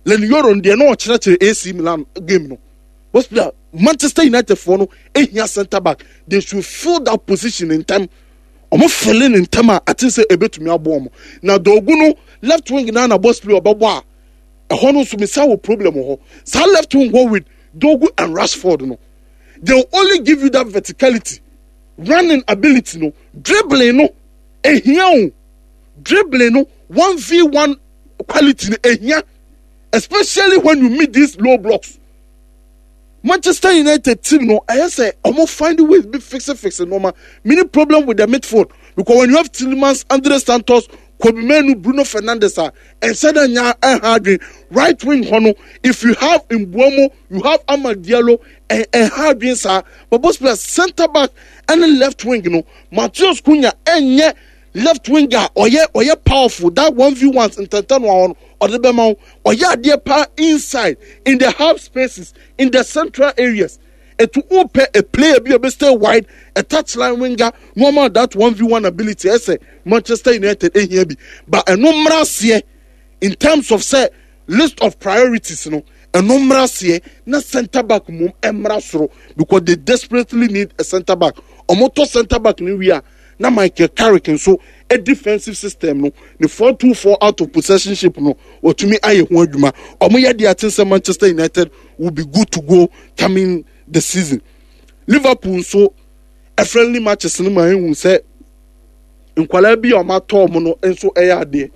Len Yoro deɛ na ɔkyerɛkyerɛ AC Milan game no. Boss player, Manchester United foɔ no ehia centre back. They should fill that position in time. Ɔmo fill in ntɛm a ate sɛ ebetumi aboɔ ɔmo. Na Dorgu no left wing na na boss player ɔbɛbɔ a ɛhɔ no nso misa wɔ problem wɔ hɔ. Saa left wing hɔ with Dorgu and Rashford no, they will only give you that verticality, running ability no, dribbling no ehia o, dribbling no 1v1 quality no ehia, especially when you meet these low blocks. Manchester United team no, ɛyɛ sɛ ɔmo find ways bi fix fix nneɛma. Many problem with the midfield, because when you have Tielemans, Andre Santos, Kobbie Mainoo, Bruno Fernandes a ɛnhyɛ dɛ nya ɛha adwene. Right wing hɔ no, if you have Mbeumo, you have Amad Diallo, ɛha adwene saa. But both players centre back ɛne left wing no, Matheus Cunha ɛnyɛ left wing a ɔyɛ powerful that one v ones ntɛntɛn no ahɔ no ɔde bɛma wo. Ɔyɛ adeɛ paa inside in the half spaces in the central areas. Etu wopɛ a player bi a ɔbɛ stay wide, a touchline winger no ama that one v one ability. Ɛsɛ Manchester United ehia bi, but ɛno mmra aseɛ in terms of sɛ list of priorities no, ɛno mmra aseɛ na centre back mom mmra soro, because they desperately need a centre back. Ɔmo tɔ centre back no wie a, na Michael Carrick nso a defensive system no, ne 4-2-4 out of possession shape no, wɔtumi ayɛ ho adwuma. Ɔmo yɛ deɛ ate sɛ Manchester United will be good to go coming the season. Liverpool nso a friendly matches no ma ehu sɛ nkwadaa bi a wɔn atɔ wɔn no nso ɛyɛ adeɛ,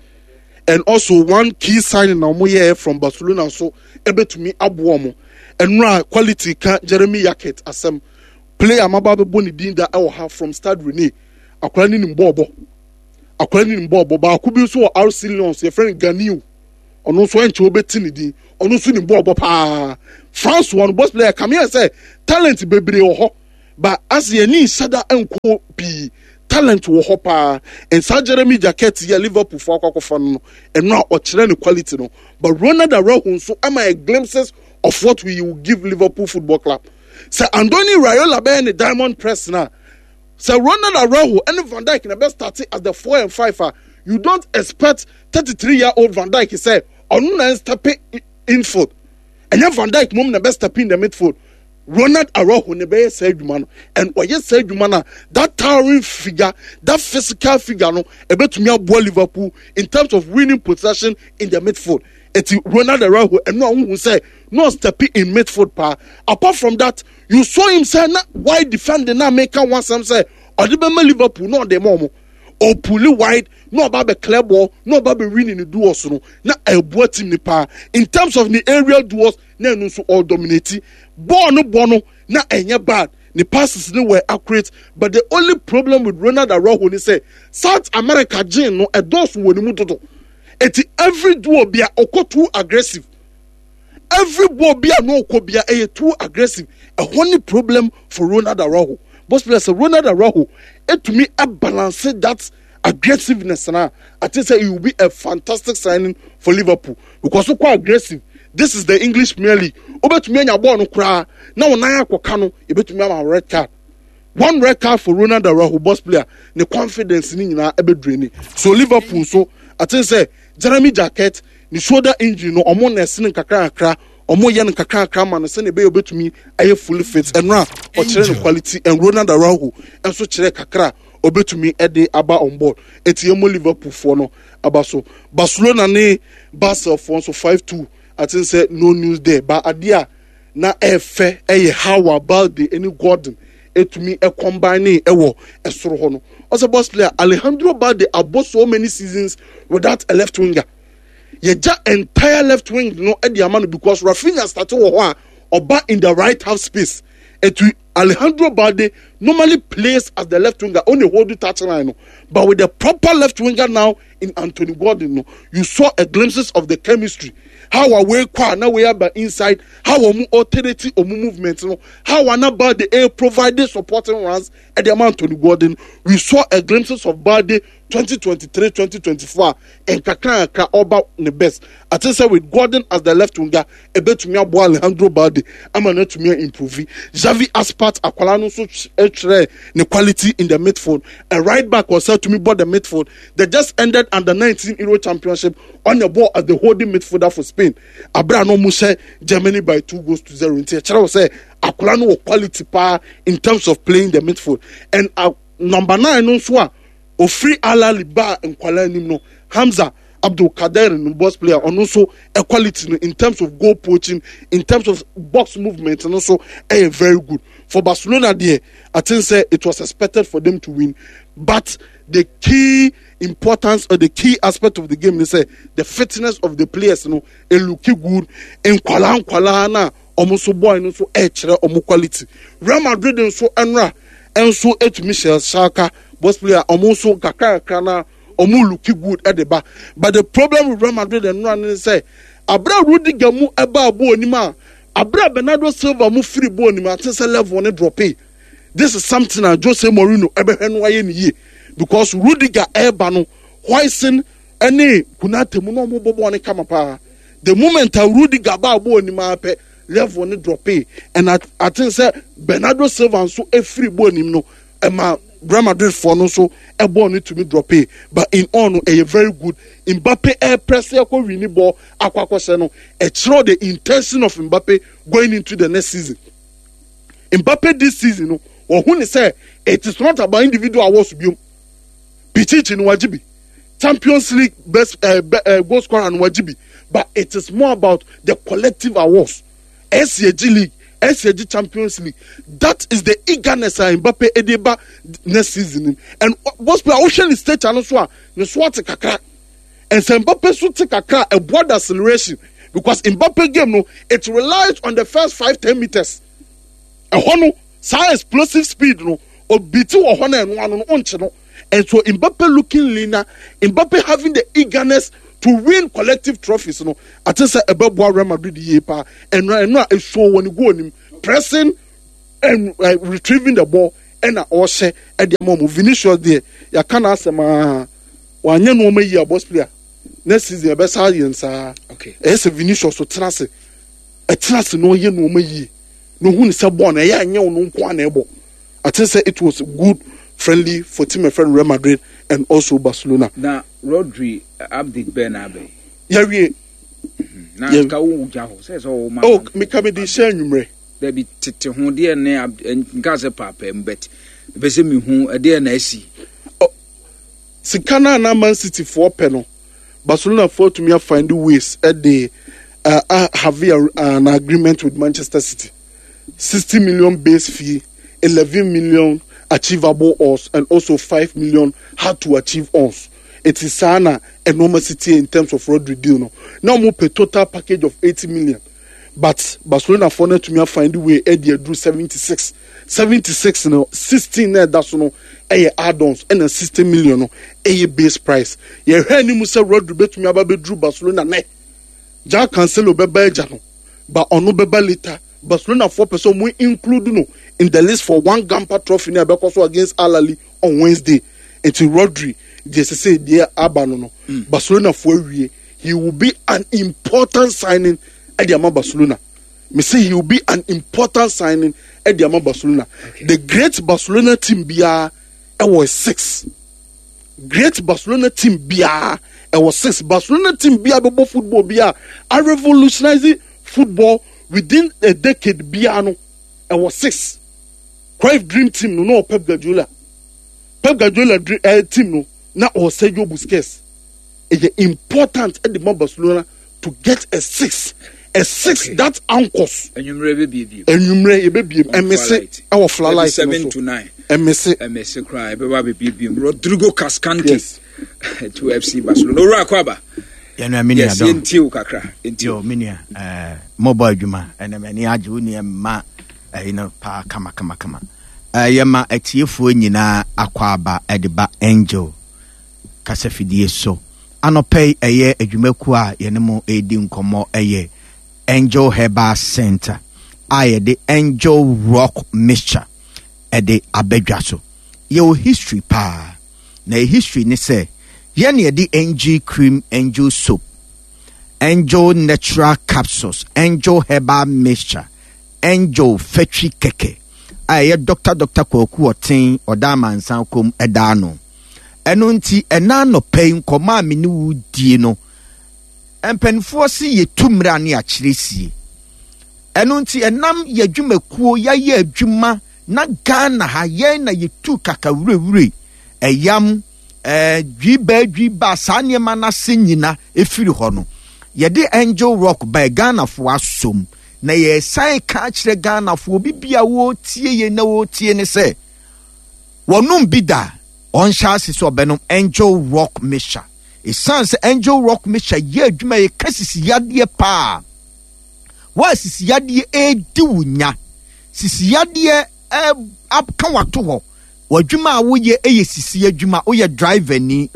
and also one key signing na wɔn yɛ from Barcelona nso ɛbɛtumi aboa wɔn. Ɛnora quality ka Jeremy Jacquet asɛm. Player maba bɛbɔ ne din da ɛwɔ ha from Stade Rennais. Akwadaa no nim bɔɔlbɔ. Akwadaa no nim bɔɔlbɔ. Baako bi nso wɔ RC Lyons, yɛfrɛ no Ganiu. Ɔno nso ɛnkyɛ wobɛti ne din. Ɔno nso nim bɔɔlbɔ paa. France wɔ no boss player kame yɛ sɛ talent bebree wɔ hɔ. Ba ase yɛn ani nhyɛ da nkɔ pii. Talent wɔ hɔ paa. And saa Jeremy Jacquet yi a Liverpool fo akɔ akɔfa no no, ɛno a ɔkyerɛ ne quality no. But Ronald Araujo nso ama yɛ glimpses of what we will give Liverpool Football Club. Sɛ Andoni Raiola bɛyɛ ne diamond press no a, sɛ Ronald Araujo ne Van Dijk na bɛ start as the 4 and 5 a, you don't expect 33 year old Van Dijk sɛ ɔno na ɛnstep infield. Ɛnyɛ Van Dijk mom na bɛ step in the midfield. Ronald Araujo na ɛbɛyɛ saa adwuma no, and ɔyɛ saa adwuma no a, that towering figure, that physical figure no, ɛbɛtumi aboa Liverpool in terms of winning possession in the midfield. Eti Ronald Araujo, ɛno a wohu sɛ na ɔstep in midfield paa. Apart from that, you saw him sɛ na wide defending na meka ho asɛm sɛ ɔde bɛma Liverpool na ɔde ma ɔmo. Ɔpuli wide na ɔba bɛ clear ball na ɔba bɛ win ne duels no na ɛboa team ne paa. In terms of ne aerial duels, na ɛno nso ɔredominate. Bɔɔl no bɔ no na ɛnyɛ bad, ne passes no were accurate, but the only problem with Ronald Araujo ne sɛ South America gene no ɛdɔɔso wɔ ne mu dodo. Eti every duel bia ɔkɔ too aggressive. Every ball bia na ɔkɔ bia ɛyɛ too aggressive. Ɛhɔ ne problem for Ronald Araujo. Boss player sɛ Ronald Araujo etumi balance that aggressiveness na I think say it will be a fantastic signing for Liverpool because so quite aggressive. This is the English Premier League. Obetumi anya ball no koraa na wɔn nan akɔka no ebetumi ama red card. One red card for Ronald Araujo, boss player. Ne confidence ni nyinaa ɛbɛdure ni. So Liverpool so I think say Jeremy Jacquet ne shoulder injury no ɔmo na ɛsene nkakra nkakra ɔmo yɛ no nkakra nkakra ma no sɛnea ɛbɛyɛ obetumi ayɛ fully fit. Ɛno a ɔkyerɛ no quality and Ronald Araujo nso kyerɛ kakra obetumi de aba on board. Eti yɛmmɔ Liverpool foɔ no aba so. Barcelona ne Basel foɔ nso 5-2. I think sɛ no news there. Ba adeɛ a na ɛfɛ ɛyɛ how a Balde ne Gordon etumi combine ɛwɔ ɛsoro hɔ no. Ɔsɛ boss player Alejandro Balde abɔ so many seasons without a left winger. Yɛgya entire left wing no de ama no because Rafinha start wɔ hɔ a ɔba in the right half space. Etu Alejandro Balde normally plays as the left winger on the hold touchline no, but with the proper left winger now in Anthony Gordon no, you saw a glimpses of the chemistry. How a way kwa na way aba inside, how omu alternate omu movement no, how ana Balde a provided supporting runs at the Anthony Gordon. We saw a glimpses of Balde 2023 2024 a nkakrankakra ɔba ne best. Ate sɛ with Gordon as the left winger ɛbɛtumi aboa Alejandro Balde ama no atumi improve. Xavi Aspart akwalaa no nso kyerɛ ne quality in the midfield. A right back ɔsɛ atumi bɔ the midfield. They just ended under 19 Euro Championship on the ball as the holding midfielder for Spain. Abira no ɔmo hyɛ Germany by 2 goals to 0. Nti ɛkyerɛ wɔ sɛ akwalaa no wɔ quality paa in terms of playing the midfield. And number 9 no nso a ofiri Al Ahly baa nkwalaa anim no, Hamza Abdul Kader no, boss player, ɔno nso quality no in terms of goal poaching, in terms of box movement no nso ɛyɛ very good. For Barcelona deɛ, I think say it was expected for them to win, but the key importance or the key aspect of the game is say the fitness of the players no it look good. Nkwalaa nkwalaa na ɔmo nso boy no nso ɛkyerɛ ɔmo quality. Real Madrid nso ɛnra nso etumi hyɛ Schalke, boss player, ɔmo nso kakra kakra na ɔmo look good ɛde ba. But the problem with Real Madrid ɛnra ne sɛ abira Rudiger mu ɛba abo onim a abira Bernardo Silva mu firi bo onim ate sɛ level ne drop. This is something a Jose Mourinho ɛbɛhwɛ no ayɛ ne yie because Rudiger ɛɛba no, Huijsen ɛne Konate mu na ɔmo bɔ bɔɔl ne kama paa. The moment a Rudiger ba abo onim apɛ, level ne drop. And I think sɛ Bernardo Silva nso efiri bɔ onim no ɛma Real Madrid foɔ no nso ɛbɔɔl no tumi drop. But in all no, ɛyɛ very good. Mbappe ɛɛpress ɛkɔ win ball akɔ akɔhyɛ no, ɛkyerɛw the intention of Mbappe going into the next season. Mbappe this season no, wɔhu ne sɛ it is not about individual awards biom. Pichichi no wagye bi, Champions League best goal scorer no wagye bi, but it is more about the collective awards. SCG League, SCG Champions League, that is the eagerness a Mbappe ɛde ba next season. And boss player, wohwɛ ne stature no so a, ne so ate kakra. And sɛ Mbappe so te kakra, ɛboa the acceleration. because Mbappe game no it relies on the first 5-10 meters. Ɛhɔ no saa explosive speed no obiti wɔ hɔ na ɛno ano no ɔnkye no. And so Mbappe looking leaner, Mbappe having the eagerness to win collective trophies no, ate sɛ ɛbɛboa Real Madrid yie paa. Ɛno a ɛsuo wɔ ne goal nim, pressing and retrieving the ball, ɛna ɔhyɛ ɛde ama ɔmo. Vinicius deɛ, yɛaka n'asɛm aa, wanyɛ nneɛma yie a, boss player, next season ɛbɛsa yɛn saa. Ɛyɛ sɛ Vinicius tena ase, ɛtena ase na ɔyɛ nneɛma yie na ohun sɛ bɔɔl no ɛyɛ anyɛ ɔno nko a na ɛbɔ. I think say it was good friendly for team friend Real Madrid and also Barcelona. Na Rodri update bɛɛ na abɛn. Yɛwie. Na ka wo gya hɔ sɛ ɔwɔ ma. Oh, meka mi de hyɛ anwummerɛ. Dabi tete ho deɛ ne nka sɛ paapaa mu, but ɛbɛ sɛ mehu ɛdeɛ na asi. Oh, sika no a na Man City foɔ pɛ no, Barcelona foɔ atumi afind ways ɛde have an agreement with Manchester City. 60 million base fee, 11 million achievable odds, and also 5 million hard to achieve odds. It is saa na ɛnɔɔma city in terms of Rodri deal no. Na wɔn pɛ total package of 80 million, but Barcelona foɔ no atumi afind way ɛde aduru 76. 76 no, 16 na ɛda so no ɛyɛ add-ons, ɛna 60 million no ɛyɛ base price. Yɛhwɛ anim sɛ Rodri bɛtumi aba bɛduru Barcelona nɛ. João Cancelo bɛba agya no ba, ɔno bɛba later. Barcelona foɔ pɛ sɛ ɔmo include no in the list for Joan Gamper Trophy ne ɛbɛkɔ so against Al Ahly on Wednesday. Nti Rodri deɛ, sese deɛ aba no, Barcelona foɔ awie. He will be an important signing ɛde ama Barcelona. Me say he will be an important signing ɛde ama Barcelona. The great Barcelona team biara ɛwɔ six. Great Barcelona team biara ɛwɔ six. Barcelona team biara bɛbɔ football biara a revolutionize football within a decade biara no ɛwɔ six. Cruyff dream team no na ɔwɔ Pep Guardiola. Pep Guardiola dream team no na ɔwɔ Sergio Busquets. Ɛyɛ important ɛde ma Barcelona to get a six that anchors. Enwummerɛ bɛbiebiem. Enwummerɛ yɛbɛbiem ɛmese ɛwɔ floodlight no 7 so. to 9. Ɛmese. Ɛmɛse koraa ɛbɛba bɛbiebiem. Rodrigo Cascante Yes. to FC Barcelona. Owura akɔ aba. Yɛnua, me nua. Yes. Dɔn. Yɛntie wo kakra, yɛntie. Yo, me nua, mɔbɔ adwuma ɛnɛ, m'ani agye wo nua mma ɛyi no paa kama kama kama. Yɛma atiefoɔ nyinaa akɔ aba ɛde ba Angel kasafidie so anɔpɛ yi. Ɛyɛ adwumakuo a yɛne mo ɛredi nkɔmmɔ ɛyɛ Angel Herbal Center a yɛde Angel Rock Mixture ɛde abɛdwa so. Yɛwɔ history paa, na yɛ history ne sɛ yɛne yɛde Angel Cream, Angel Soap, Angel Natural Capsules, Angel Herbal Mixture, Angel Fetwi Kɛkɛ a ɛyɛ Dr Kwaku Ɔten ɔda amansan kom ɛda ano. Ɛno nti ɛna anɔpɛ yi nkɔmɔ a me ne wo die no, mpanimfoɔ se yɛtu mmerɛ a ne akyerɛ sie. Ɛno nti ɛnam yɛ adwumakuo yɛayɛ adwuma na Ghana ha yɛn na yɛtu kaka wurawure ɛyam dwibaa dwibaa saa nneɛma no ase nyina ɛfiri hɔ no, yɛde Angel Rock baa Ghanafoɔ asom. Na yɛsan ka akyerɛ Ghanafoɔ, obi bi a wɔretie yɛn na wɔretie ne sɛ wɔnom bi da, ɔnhyɛ ase sɛ ɔbɛnom Angel Rock Mixture, ɛsiane sɛ Angel Rock Mixture yɛ adwuma yɛka sisi yadeɛ paa. Wɔn a sisi yadeɛ ɛredi wo nya, sisi yadeɛ aka wato hɔ, w'adwuma a woyɛ ɛyɛ sisi adwuma, woyɛ driver ni,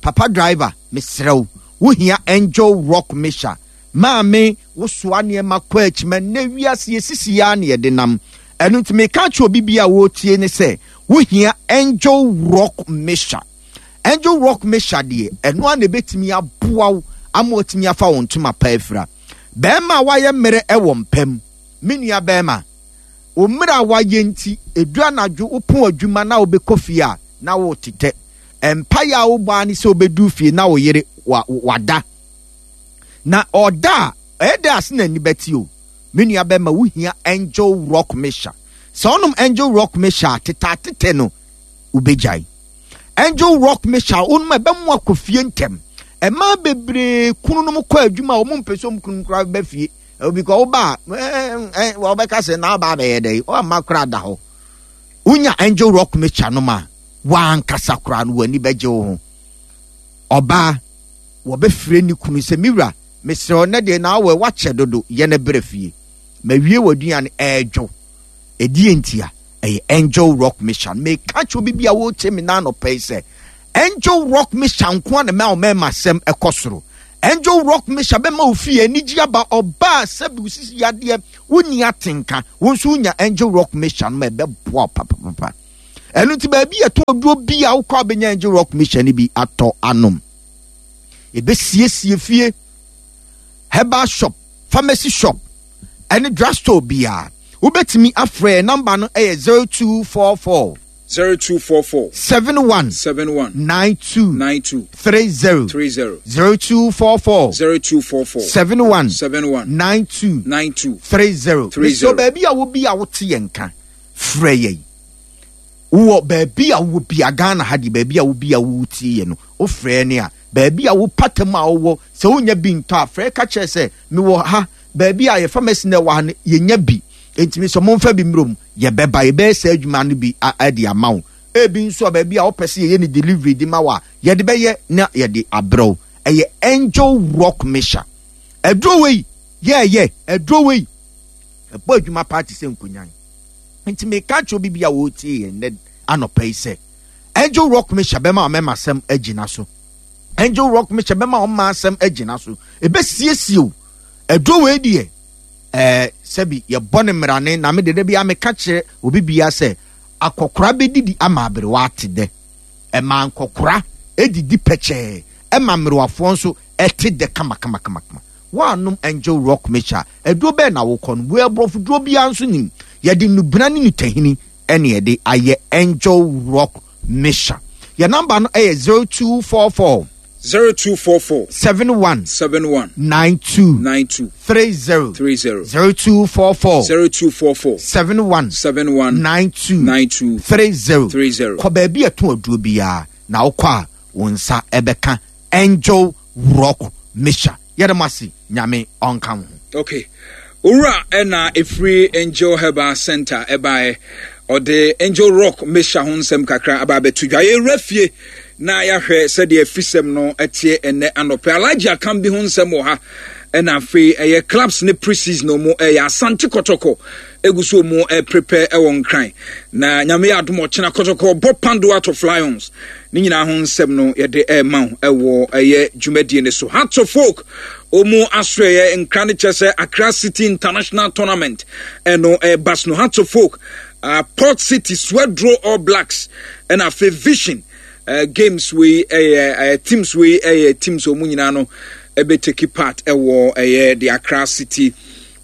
papa driver, mesrɛ wo, wohia Angel Rock Mixture. Maame, wosoa nneɛma kɔ akyima nnɛ wiase yɛsisi yɛ a ne yɛde nam. Ɛno nti meka kyerɛ obi bi a wɔretie ne sɛ wohia Angel Rock Mixture. Angel Rock Mixture deɛ, ɛno a na ɛbɛtumi aboa wo ama watumi afa wo ntoma pa afira. Bɛrima a wayɛ mmerɛ ɛwɔ mpam, me nua bɛrima, wo mmerɛ a wayɛ nti ɛdu anadwo wopɔn adwuma na wobɛkɔ fie a na wotetɛ mpaeɛ a wobɔ a ne sɛ wobɛdu fie na wo yere wada na ɔda a ɛyɛ dɛ ase na ani bɛte o. Me nua bɛrima, wohia Angel Rock Mixture. Sɛ wonom Angel Rock Mixture a, tetaatetɛ no wobɛgyae. Angel Rock Mixture wonom a, ɛbɛmo akɔ fie ntɛm. Ɛmaa bebree kununom kɔ adwuma a wɔn mpɛ sɛ wɔn kunum koraa bɛba fie obi kɔ woba a wɔbɛka sɛ na aba abɛyɛ dɛ ɔmma koraa da hɔ. Wonya Angel Rock Mixture nom a, wankasa koraa no w'ani bɛgye wo ho. Ɔbaa wɔbɛfrɛ ne kunu sɛ me wura. Mesrɛ wo, nnɛ deɛ na awɔ woakyɛ dodo, yɛ na brɛ fie. Mawie w'aduane, ɛredwo. Ɛdeɛn ntia? Ɛyɛ Angel Rock Mission. Meka kyerɛ obi bi a wɔretie me na anɔpa yi sɛ, Angel Rock Mission nko ara na ɛma ɔmɛɛma asɛm ɛkɔ soro. Angel Rock Mission bɛma wo fie anigye aba, ɔbaa sɛbi wo sisi yadeɛ, wonni atenka, wo nso wonya Angel Rock Mission ma ɛbɛboa wo papapapa. Ɛno nti baabi yɛtɔ aduro bi a wokɔ a wobɛnya Angel Rock Mission no bi atɔ anom. Ɛbɛsiesie fie, herbal shop, pharmacy shop, ɛne drugstore biara. Wobɛtumi afrɛ namba no ɛyɛ 0244 0244 71 71 92 92 30 30 0244 0244 71 71 92 92 30. 30. Mesɛ baabi a wo bi a wote yɛn nka frɛ yɛn. Wowɔ baabi a wowɔ bia Ghana ha deɛ baabi a wo bi a wotie yɛ no wofrɛ ne a baabi a wo patam a wowɔ sɛ wonya bi ntɔ a frɛ ka kyerɛ sɛ mewɔ ha baabi a yɛ pharmacy na ɛwɔ ha no yɛnya bi enti mesɛ momfa bi mmerɛ mu yɛbɛba yɛbɛyɛ saa adwuma no bi de ama wo. Ebi nso a baabi a wopɛ sɛ yɛyɛ ne delivery de ma wo a yɛde bɛyɛ na yɛde abrɛ wo. Ɛyɛ Angel Rock Mixture. Aduro wei yɛɛyɛ aduro wei ɛbɔ adwuma paa te sɛ nkonyan. Nti meka kyerɛ obi bi a wɔretie yɛn nnɛ anɔpa yi sɛ Angel Rock Mixture bɛma ɔmɛma asɛm agyina so. Angel Rock Mixture bɛma ɔmma asɛm agyina so. Ɛbɛsiesie o. Aduro wei deɛ ɛɛ sɛbi yɛbɔ ne mmerane na me de da bi a meka kyerɛ obi bia sɛ akɔkora bɛdidi ama aberewa ate dɛ. Ɛma nkɔkora ɛdidi pɛkyɛɛ ɛma mmerewafoɔ nso ɛte dɛ kamakamakamakama. Woannom Angel Rock Mixture a, aduro bɛn na wokɔ nom? Wei aborɔfo duro biara nso nim. Yɛde nnubena ne nutahini ɛne yɛde ayɛ Angel Rock Mixture. Yɛn namba no ɛyɛ 0244 0244 71 71 92 92 30 30 0244 0244 71 71 92 92 30 30. Kɔ baabi a ɛtɔn aduro biara na wokɔ a wo nsa ɛbɛka Angel Rock Mixture. Yɛda mo ase, Nyame ɔnka wo ho. Okay. Owura ɛna ɛfiri Angel Herbal Center ɛbaeɛ. Ɔde Angel Rock Mixture ho nsɛm kakra aba abɛto dwa. Yɛwura fie na yɛahwɛ sɛdeɛ afisɛm no ɛteɛ ɛnɛ anɔpɛ. Alhaji Akam bi ho nsɛm wɔ ha. Ɛna afei ɛyɛ clubs ne pre-season ɔmo ɛyɛ Asante Kɔtɔkɔ egu so ɔmo ɛprepare ɛwɔ Nkran. Na Nyame yɛ adom ɔkyena Kɔtɔkɔ bɔ Pando Out of Lions. Ne nyinaa ho nsɛm no yɛde ɛrema wo ɛwɔ ɛyɛ dwumadie no so. Hearts of Oak ɔmu asoɛyɛ nkra no kyerɛ sɛ Accra City International Tournament ɛno ɛreba so no. Hearts of Oak, Port City, Swedro All Blacks ɛna afei Vision games wei ɛyɛ teams wei ɛyɛ teams ɔmu nyinaa no ɛbɛ take part ɛwɔ ɛyɛ the Accra City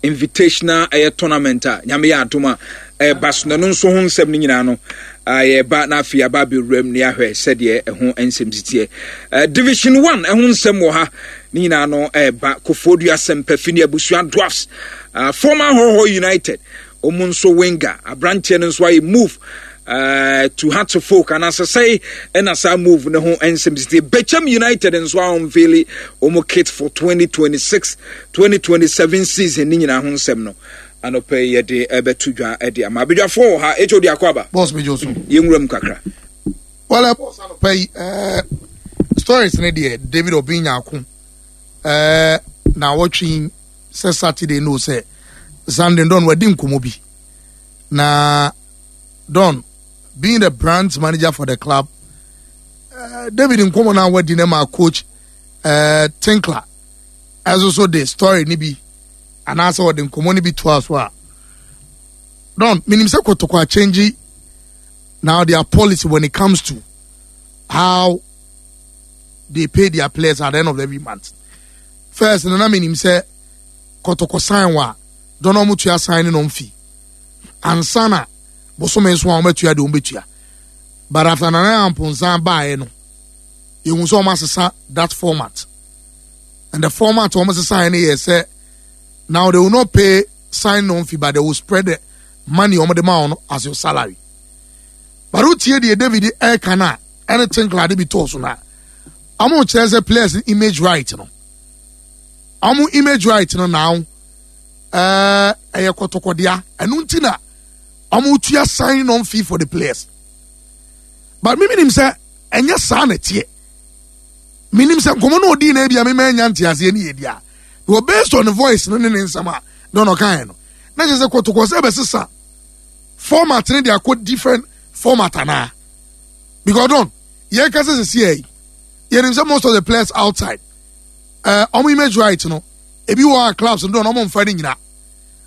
Invitational ɛyɛ tournament a Nyame yɛ adom a ɛba so na ɛno nso ho nsɛm no nyinaa no yɛba na afei aba abɛwura mu na yɛahwɛ sɛdeɛ ɛho nsɛm si teɛ. Division 1 ɛho nsɛm wɔ ha ne nyinaa no ɛba Kofoɔdua Sɛmpafi ne Abusua Dwarfs, former Hɔhɔ United wɔn nso winger aberanteɛ no nso ayɛ move to Hearts of Oak anaasɛ sɛe ɛna saa move ne ho nsɛm sisi Bɛkyɛm United nso a unveil wɔn kit for 2026 2027 season ne nyinaa ho nsɛm no anɔpɛ yi yɛde ɛbɛto dwa ɛde ama abadwafoɔ wɔ ha HOD akɔ aba boss mejo so yɛnwura mu kakra. Well, boss anɔpɛ yi stories ne deɛ David Obeng Nyarko na wɔtwe sɛ Saturday no sɛ Sunday Don wadi nkɔmmɔ bi na Don being the branch manager for the club, David nkɔmmɔ na wadi ne ma coach Tinkler ɛso so de story ne bi anaasɛ ɔde nkɔmmɔ no bi toa so a Don menim sɛ Kotoko change now their policy when it comes to how they pay their players at the end of every month. First, na menim sɛ Kotoko sign wa Don ɔmo tua sign no fee ansa na bosome nso a wɔatua deɛ wɔbɛtua but after Nana Amponsan baeɛ no yɛhu sɛ wɔn asesa that format and the format wɔn asesa no yɛ sɛ now they will not pay sign on fee but they will spread the money wɔn de ma wɔn as your salary but wotie deɛ David ɛreka no a ɛne Tinkler de bi tɔɔ so no a wɔn kyerɛ sɛ players image right no wɔn image right no now ɛyɛ kɔtɔkɔdea ɛno nti na wɔn tua sign on fee for the players but mímí nim sɛ ɛnyɛ saa na ɛteɛ mínim sɛ nkɔmɔ na odi na ebi a mímɛ nya nteaseɛ ne yɛ di a. Because based on the voice no ne ne nsɛm a Don ɔkaeɛ no, na kyerɛ sɛ kɔtɔkɔ sɛ ɛbɛsesa format ne de akɔ different format anaa? Because Don, yɛka sɛ sɛsi yɛ yi, yɛnim sɛ most of the players outside, ɔmo image right no, ebi wɔ a clubs no Don ɔmo mfa ne nyina.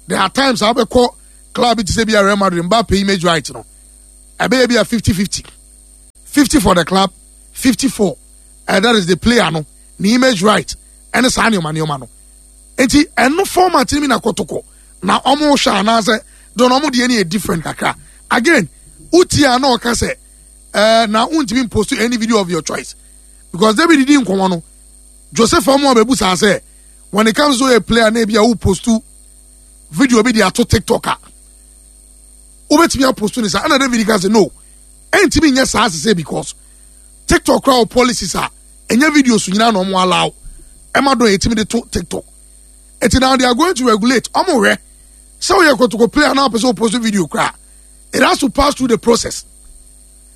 There are times a wobɛkɔ club bi te sɛ bi a Real Madrid, Mbappe image right no, ɛbɛyɛ bi a 50-50. 50 for the club, 50 for that is the player no, ne image right. ɛne saa nneɛma nneɛma no nti ɛno format no bi na kɔtɔkɔ na ɔmo hwɛ anaasɛ dɔn ɔmo deɛ no yɛ different kakra again wotie a na ɔka sɛ ɛɛ na wontumi post any video of your choice because David di nkɔmɔ no Joseph ɔmo abɛbu saa sɛ when it comes to a player na ebi a wo post video bi de ato TikTok a wobɛtumi apost ne saa ɛna David ka sɛ no ɛntumi nyɛ saa sese because TikTok kora wɔ policies a ɛnyɛ videos nyinaa na ɔmo allow ɛma dɔn yɛtumi de to tiktok eti now they are going to regulate ɔmo hwɛ sɛ ɔyɛ kotoko player na ɔpɛ sɛ ɔpost video koraa it has to pass through the process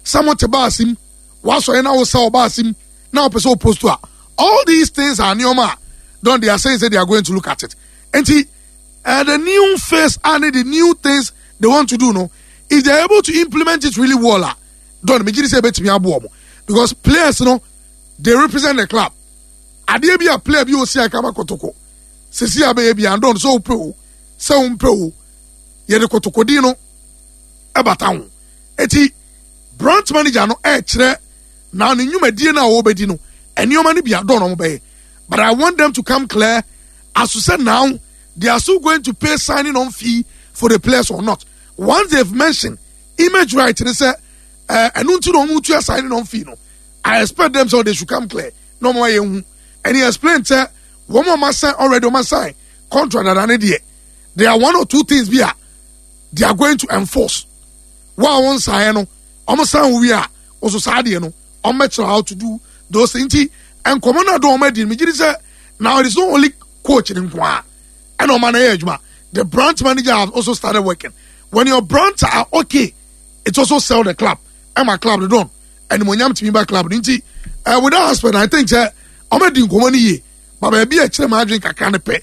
sɛ mo te baasi mu wasɔre na wosa ɔbaasi mu na ɔpɛ sɛ ɔpost a all these things are nneɛma a don they are saying say they are going to look at it nti uh, the new face and the new things they want to do no if they are able to implement it really well ah don megye di sɛ ebetumi aboɔ mo because players no they represent the club adeɛ bi a player bi osi akama kotoko sisi abɛyɛ bi and don sɛ wopɛ o sɛ wompɛ o yɛde kotoko din no ɛbata ho eti branch manager no ɛɛkyerɛ na ne nnwumadie no a wɔbɛdi no nneɛma no bi adɔn na wɔbɛyɛ but I want them to come clear as to say now they are still going to pay signing on fee for the players or not once they've mentioned image right ne sɛ ɛɛ ɛno nti na wɔn tua signing on fee no i expect them so they should come clear na wɔn ayɛ hu and he explained sɛ wɔn a wɔn asign already wɔn asign contract dada ne deɛ there are one or two things bi a they are going to enforce wɔn a wɔn sign no wɔn sign wo wie a wɔso saa deɛ no wɔn bɛkyerɛ how to do those things nti nkɔmɔ no a dɔn wɔn adi no megye di sɛ now it is not only coach ne nko ara. ɛna ɔma no yɛ adwuma the branch manager has also started working when your branch are okay it also sell the club ɛma club no don ɛnumonyam tumi ba club no nti uh, with that aspect i think sɛ ɔmo di nkɔmɔ no yie ba baabi a ɛkyerɛ maa adwene kakra no pɛ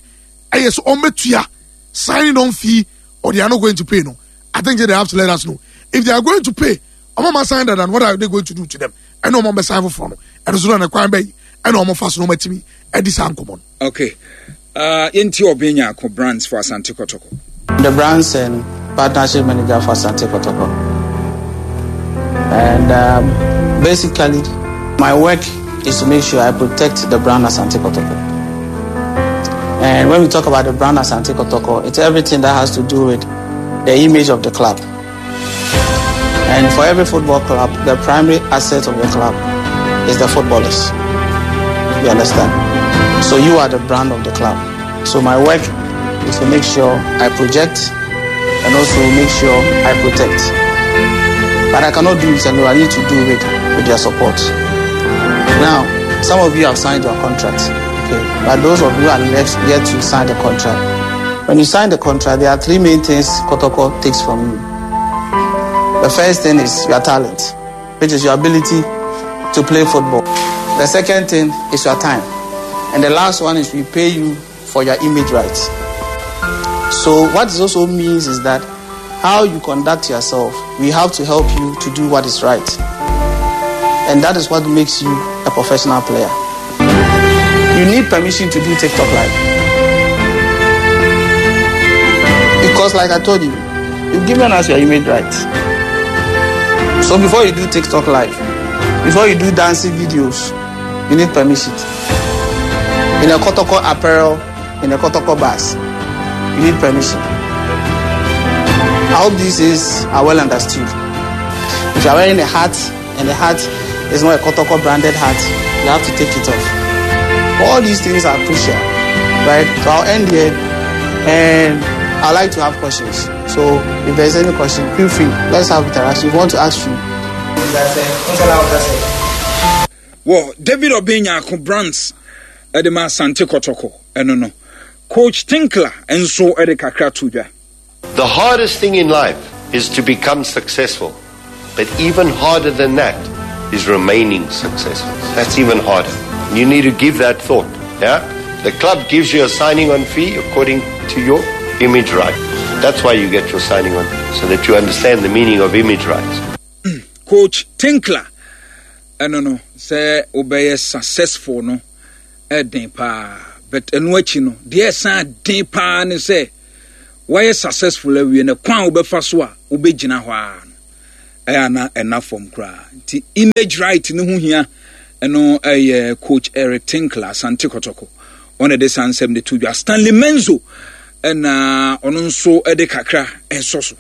ɛyɛ so ɔmo bɛtua signing on fee or they are not going to pay no i think they have to let us know if they are going to pay ɔmo ma sign dada no what are they going to do to them ɛna ɔmo bɛ sign foforɔ no ɛno so na kwan bɛyi ɛna ɔmo fa so na ɔmo atumi ɛdi saa nkɔmɔ no. Okay. Uh, yɛnti Ɔben Nyarko Brands for Asante Kotoko. The Brands and Partnership Manager for Asante Kotoko. And um, basically, my work is to make sure I protect the brand Asante Kotoko. And when we talk about the brand Asante Kotoko, it's everything that has to do with the image of the club. And for every football club, the primary asset of the club is the footballers. You understand? So you are the brand of the club. So my work is to make sure I project and also make sure I protect. But I cannot do it alone. I need to do it with your support. Now, some of you have signed your contract. Okay. But those of you are left yet to sign the contract. When you sign the contract, there are three main things Kotoko takes from you. The first thing is your talent, which is your ability to play football. The second thing is your time. And the last one is we pay you for your image rights. So what this also means is that how you conduct yourself, we have to help you to do what is right. And that is what makes you a professional player. You need permission to do TikTok Live. Because like I told you, you've given us your image rights. So before you do TikTok Live, before you do dancing videos, you need permission. In a Kotoko apparel, in a Kotoko bus, you need permission. I hope these is are well understood. If you are wearing a hat and the hat is not a Kotoko branded hat, you have to take it off. All these things are crucial, right? So I'll end here and I like to have questions. So if there's any question, feel free. Let's have interaction. If you want to ask you. Wɔ David Obeng Nyarko Brands de ma Asante Kɔtɔkɔ ɛno no, Coach Tinkler nso de kakra to dwa. The hardest thing in life is to become successful. But even harder than that is remaining successful. That's even harder. You need to give that thought. Yeah? The club gives you a signing on fee according to your image right. That's why you get your signing on, so that you understand the meaning of image rights. Coach Tinkler, ɛno no sɛ wobɛyɛ successful no ɛden paa but ɛno akyi no deɛ ɛsan den paa ne sɛ woayɛ successful awie no kwan a wobɛfa so a wobɛgyina hɔ ara no ɛyɛ ana ɛna fam koraa nti image right no ho hia ɛno ɛyɛ coach Eric Tinkler Asante Kɔtɔkɔ ɔna de saa nsɛm de to dwa Stanley Menzo ɛna ɔno nso ɛde kakra ɛsɔ so.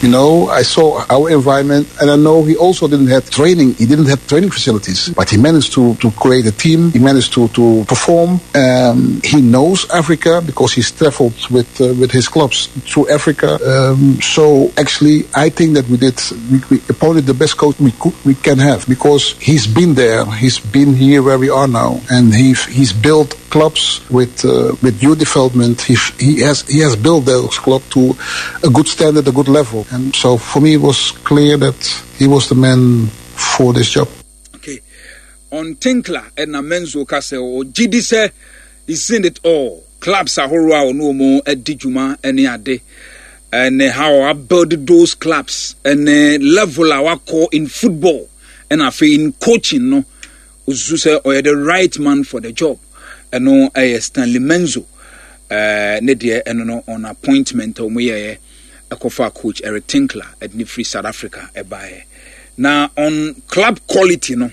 You know, I saw our environment, and I know he also didn't have training. He didn't have training facilities, but he managed to, to create a team. He managed to, to perform. Um, he knows Africa because he's traveled with uh, with his clubs through Africa. Um, so actually, I think that we did we, we appointed the best coach we could we can have because he's been there. He's been here where we are now, and he he's built clubs with uh, with new development. He he has he has built those club to a good standard, a good level. And so for me, it was clear that he was the man for this job. Okay. On Tinkler ɛna Menzo ka sɛ ɔgye di sɛ he's seen it all. Clubs ahorow a ɔne wɔn adi dwuma ne ade ɛne how abuild those clubs ɛne level a wakɔ in football ɛna afei in coaching no Osusu sɛ ɔyɛ the right man for the job. Ɛno ɛyɛ Stanley Menzo ɛɛ ne deɛ ɛno no on appointment a wɔn yɛɛ ɛkɔfa coach Eric Tinkler ɛde ne firi South Africa ɛbaeɛ. Na on club quality no.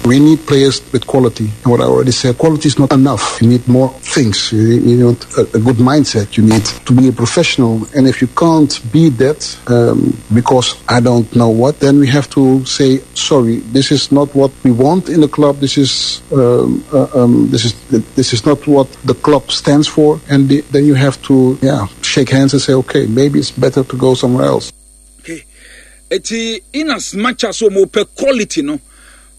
We need players with quality. And what I already said, quality is not enough. You need more things. You, you need a, a good mindset. You need to be a professional. And if you can't be that, um, because I don't know what, then we have to say, sorry, this is not what we want in the club. This is um, uh, um, this is this is not what the club stands for. And the, then you have to yeah shake hands and say, okay, maybe it's better to go somewhere else. Okay. Eti in as much as wɔn pɛ quality no,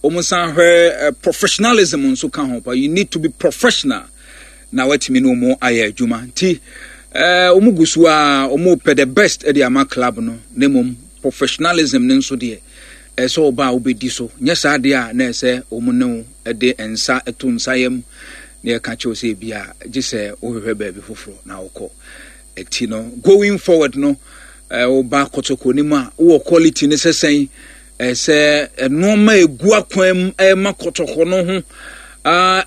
wɔn san hwɛ eh, professionalism nso ka ho pa. You need to be professional na watumi ne wɔn ayɛ adwuma. Nti eh, wɔn gu so a wɔn pɛ the best de ama club no na mmom professionalism no nso deɛ ɛsɛ ɔba a wobɛdi so nyɛ saa deɛ a na ɛsɛ wɔn ne wo de nsa to nsa yam na yɛka kyerɛw sɛ ebi a gye sɛ wohwehwɛ baabi foforɔ na wokɔ ɛti no going forward no woba kɔtɔkɔ no mu a wowɔ quality no sɛ sɛn sɛ nneɛma egu akwan mu ɛma kɔtɔkɔ no ho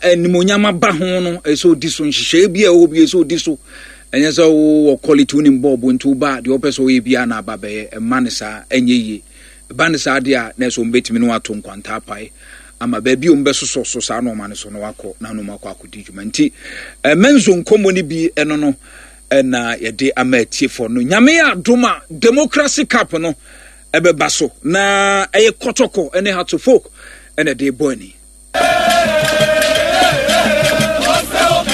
animonyam aba ho no ɛsɛ odi so nhyehyɛe bi a ɛwɔ bi ɛsɛ odi so ɛnyɛ sɛ wowɔ quality wonim bɔɔbo nti woba deɛ wopɛ sɛ woyɛ biara na aba bɛyɛ ɛma no saa ɛnyɛ yie ɛba no saa deɛ a na ɛsɛ wɔn bɛtumi no ato nkwanta apae ama baabi a wɔn bɛsosɔ so saa nneɛma no so na wakɔ na wɔn akɔ akɔdi dwuma nti ɛmɛnzo nkɔmmɔ no bi ɛno no ɛna yɛde ama atiefoɔ no nyame yɛ adom a democracy cup no ɛbɛba so na ɛyɛ kɔtɔkɔ ɛne hearts of oak ɛna ɛde bɔ ani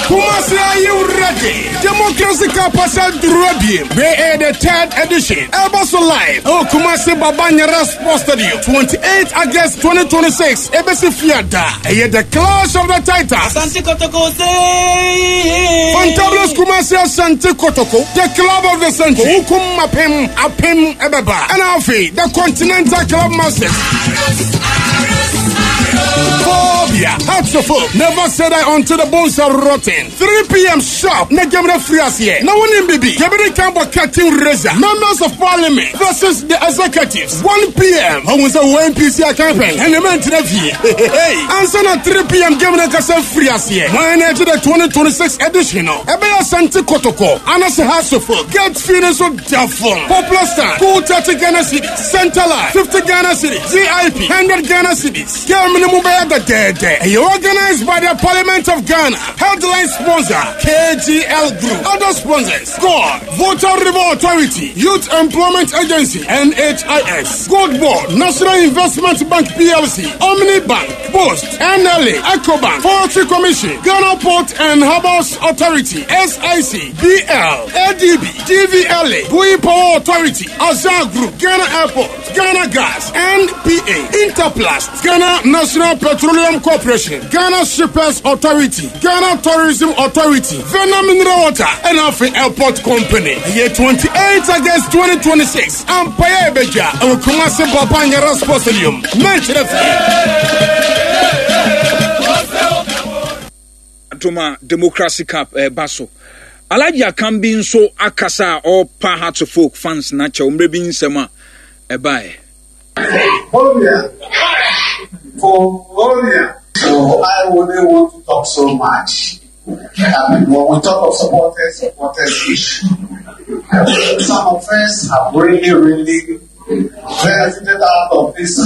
Kumasi, are you ready? Democracy Cup Asadurabie. We are the third edition. Elbaso Live. Oh, Kumasi Babanyara Sports Stadium. 28 August 2026. ABC Fiada. Ɛyɛ the clash of the titans. Asante Kotoko say. Fantabulous Kumasi Asante Kotoko. The club of the century. Wukum Apem Apem Ebeba. And Alfie, the Continental Club Masters. Phobia. Hearts of Oak. Never said I until the bones are rotten. 3 p.m. sharp. Na game free as here. Now one in BB. Kebiri Kambo Captain Reza. Members of Parliament versus the executives. 1 p.m. Ohun sɛ wɔ NPC campaign. And the men to the Hey. Answer na 3 p.m. game na kasa free as here. One edge the 2026 edition. No. Ebe Asante Kotoko. Anase Hearts of Oak. Get feeling so doubtful. Popular Star. 230 Ghana cedis. Centerline. 50 Ghana cedis. VIP. 100 Ghana cedis. Game ni mu bɛyɛ dɛdɛɛdɛ. Ɛyɛ organized by the Parliament of Ghana. Headline sponsor KGL Group. Other sponsors God, Volta River Authority, Youth Employment Agency, NHIS, Gold Board, National Investment Bank PLC, Omni Bank, Post, NLA, EcoBank, Forestry Commission, Ghana Port and Harbors Authority, SIC, BL, ADB, GVLA, Bui Power Authority, Azar Group, Ghana Airport, Ghana Gas, NPA, Interplast, Ghana National Petroleum Corporation, Ghana Shippers Authority, Ghana Tourism Authority, Vena Mineral Water, and Afi Airport Company. Year 28 August 2026, Ampaya Ebeja, and Kumasi Babanyara Sports Stadium. Mention it. Adom a Democracy Cup ɛreba so. Alhaji Akanbi nso akasa a ɔrepa Hearts of Oak fans no akyɛw mmerɛ bi nsɛm a ɛbaeɛ. Phobia. Phobia. So I wouldn't want to talk so much. I mean, when we talk of supporters, supporters issue, some of us have really, really benefited out of this.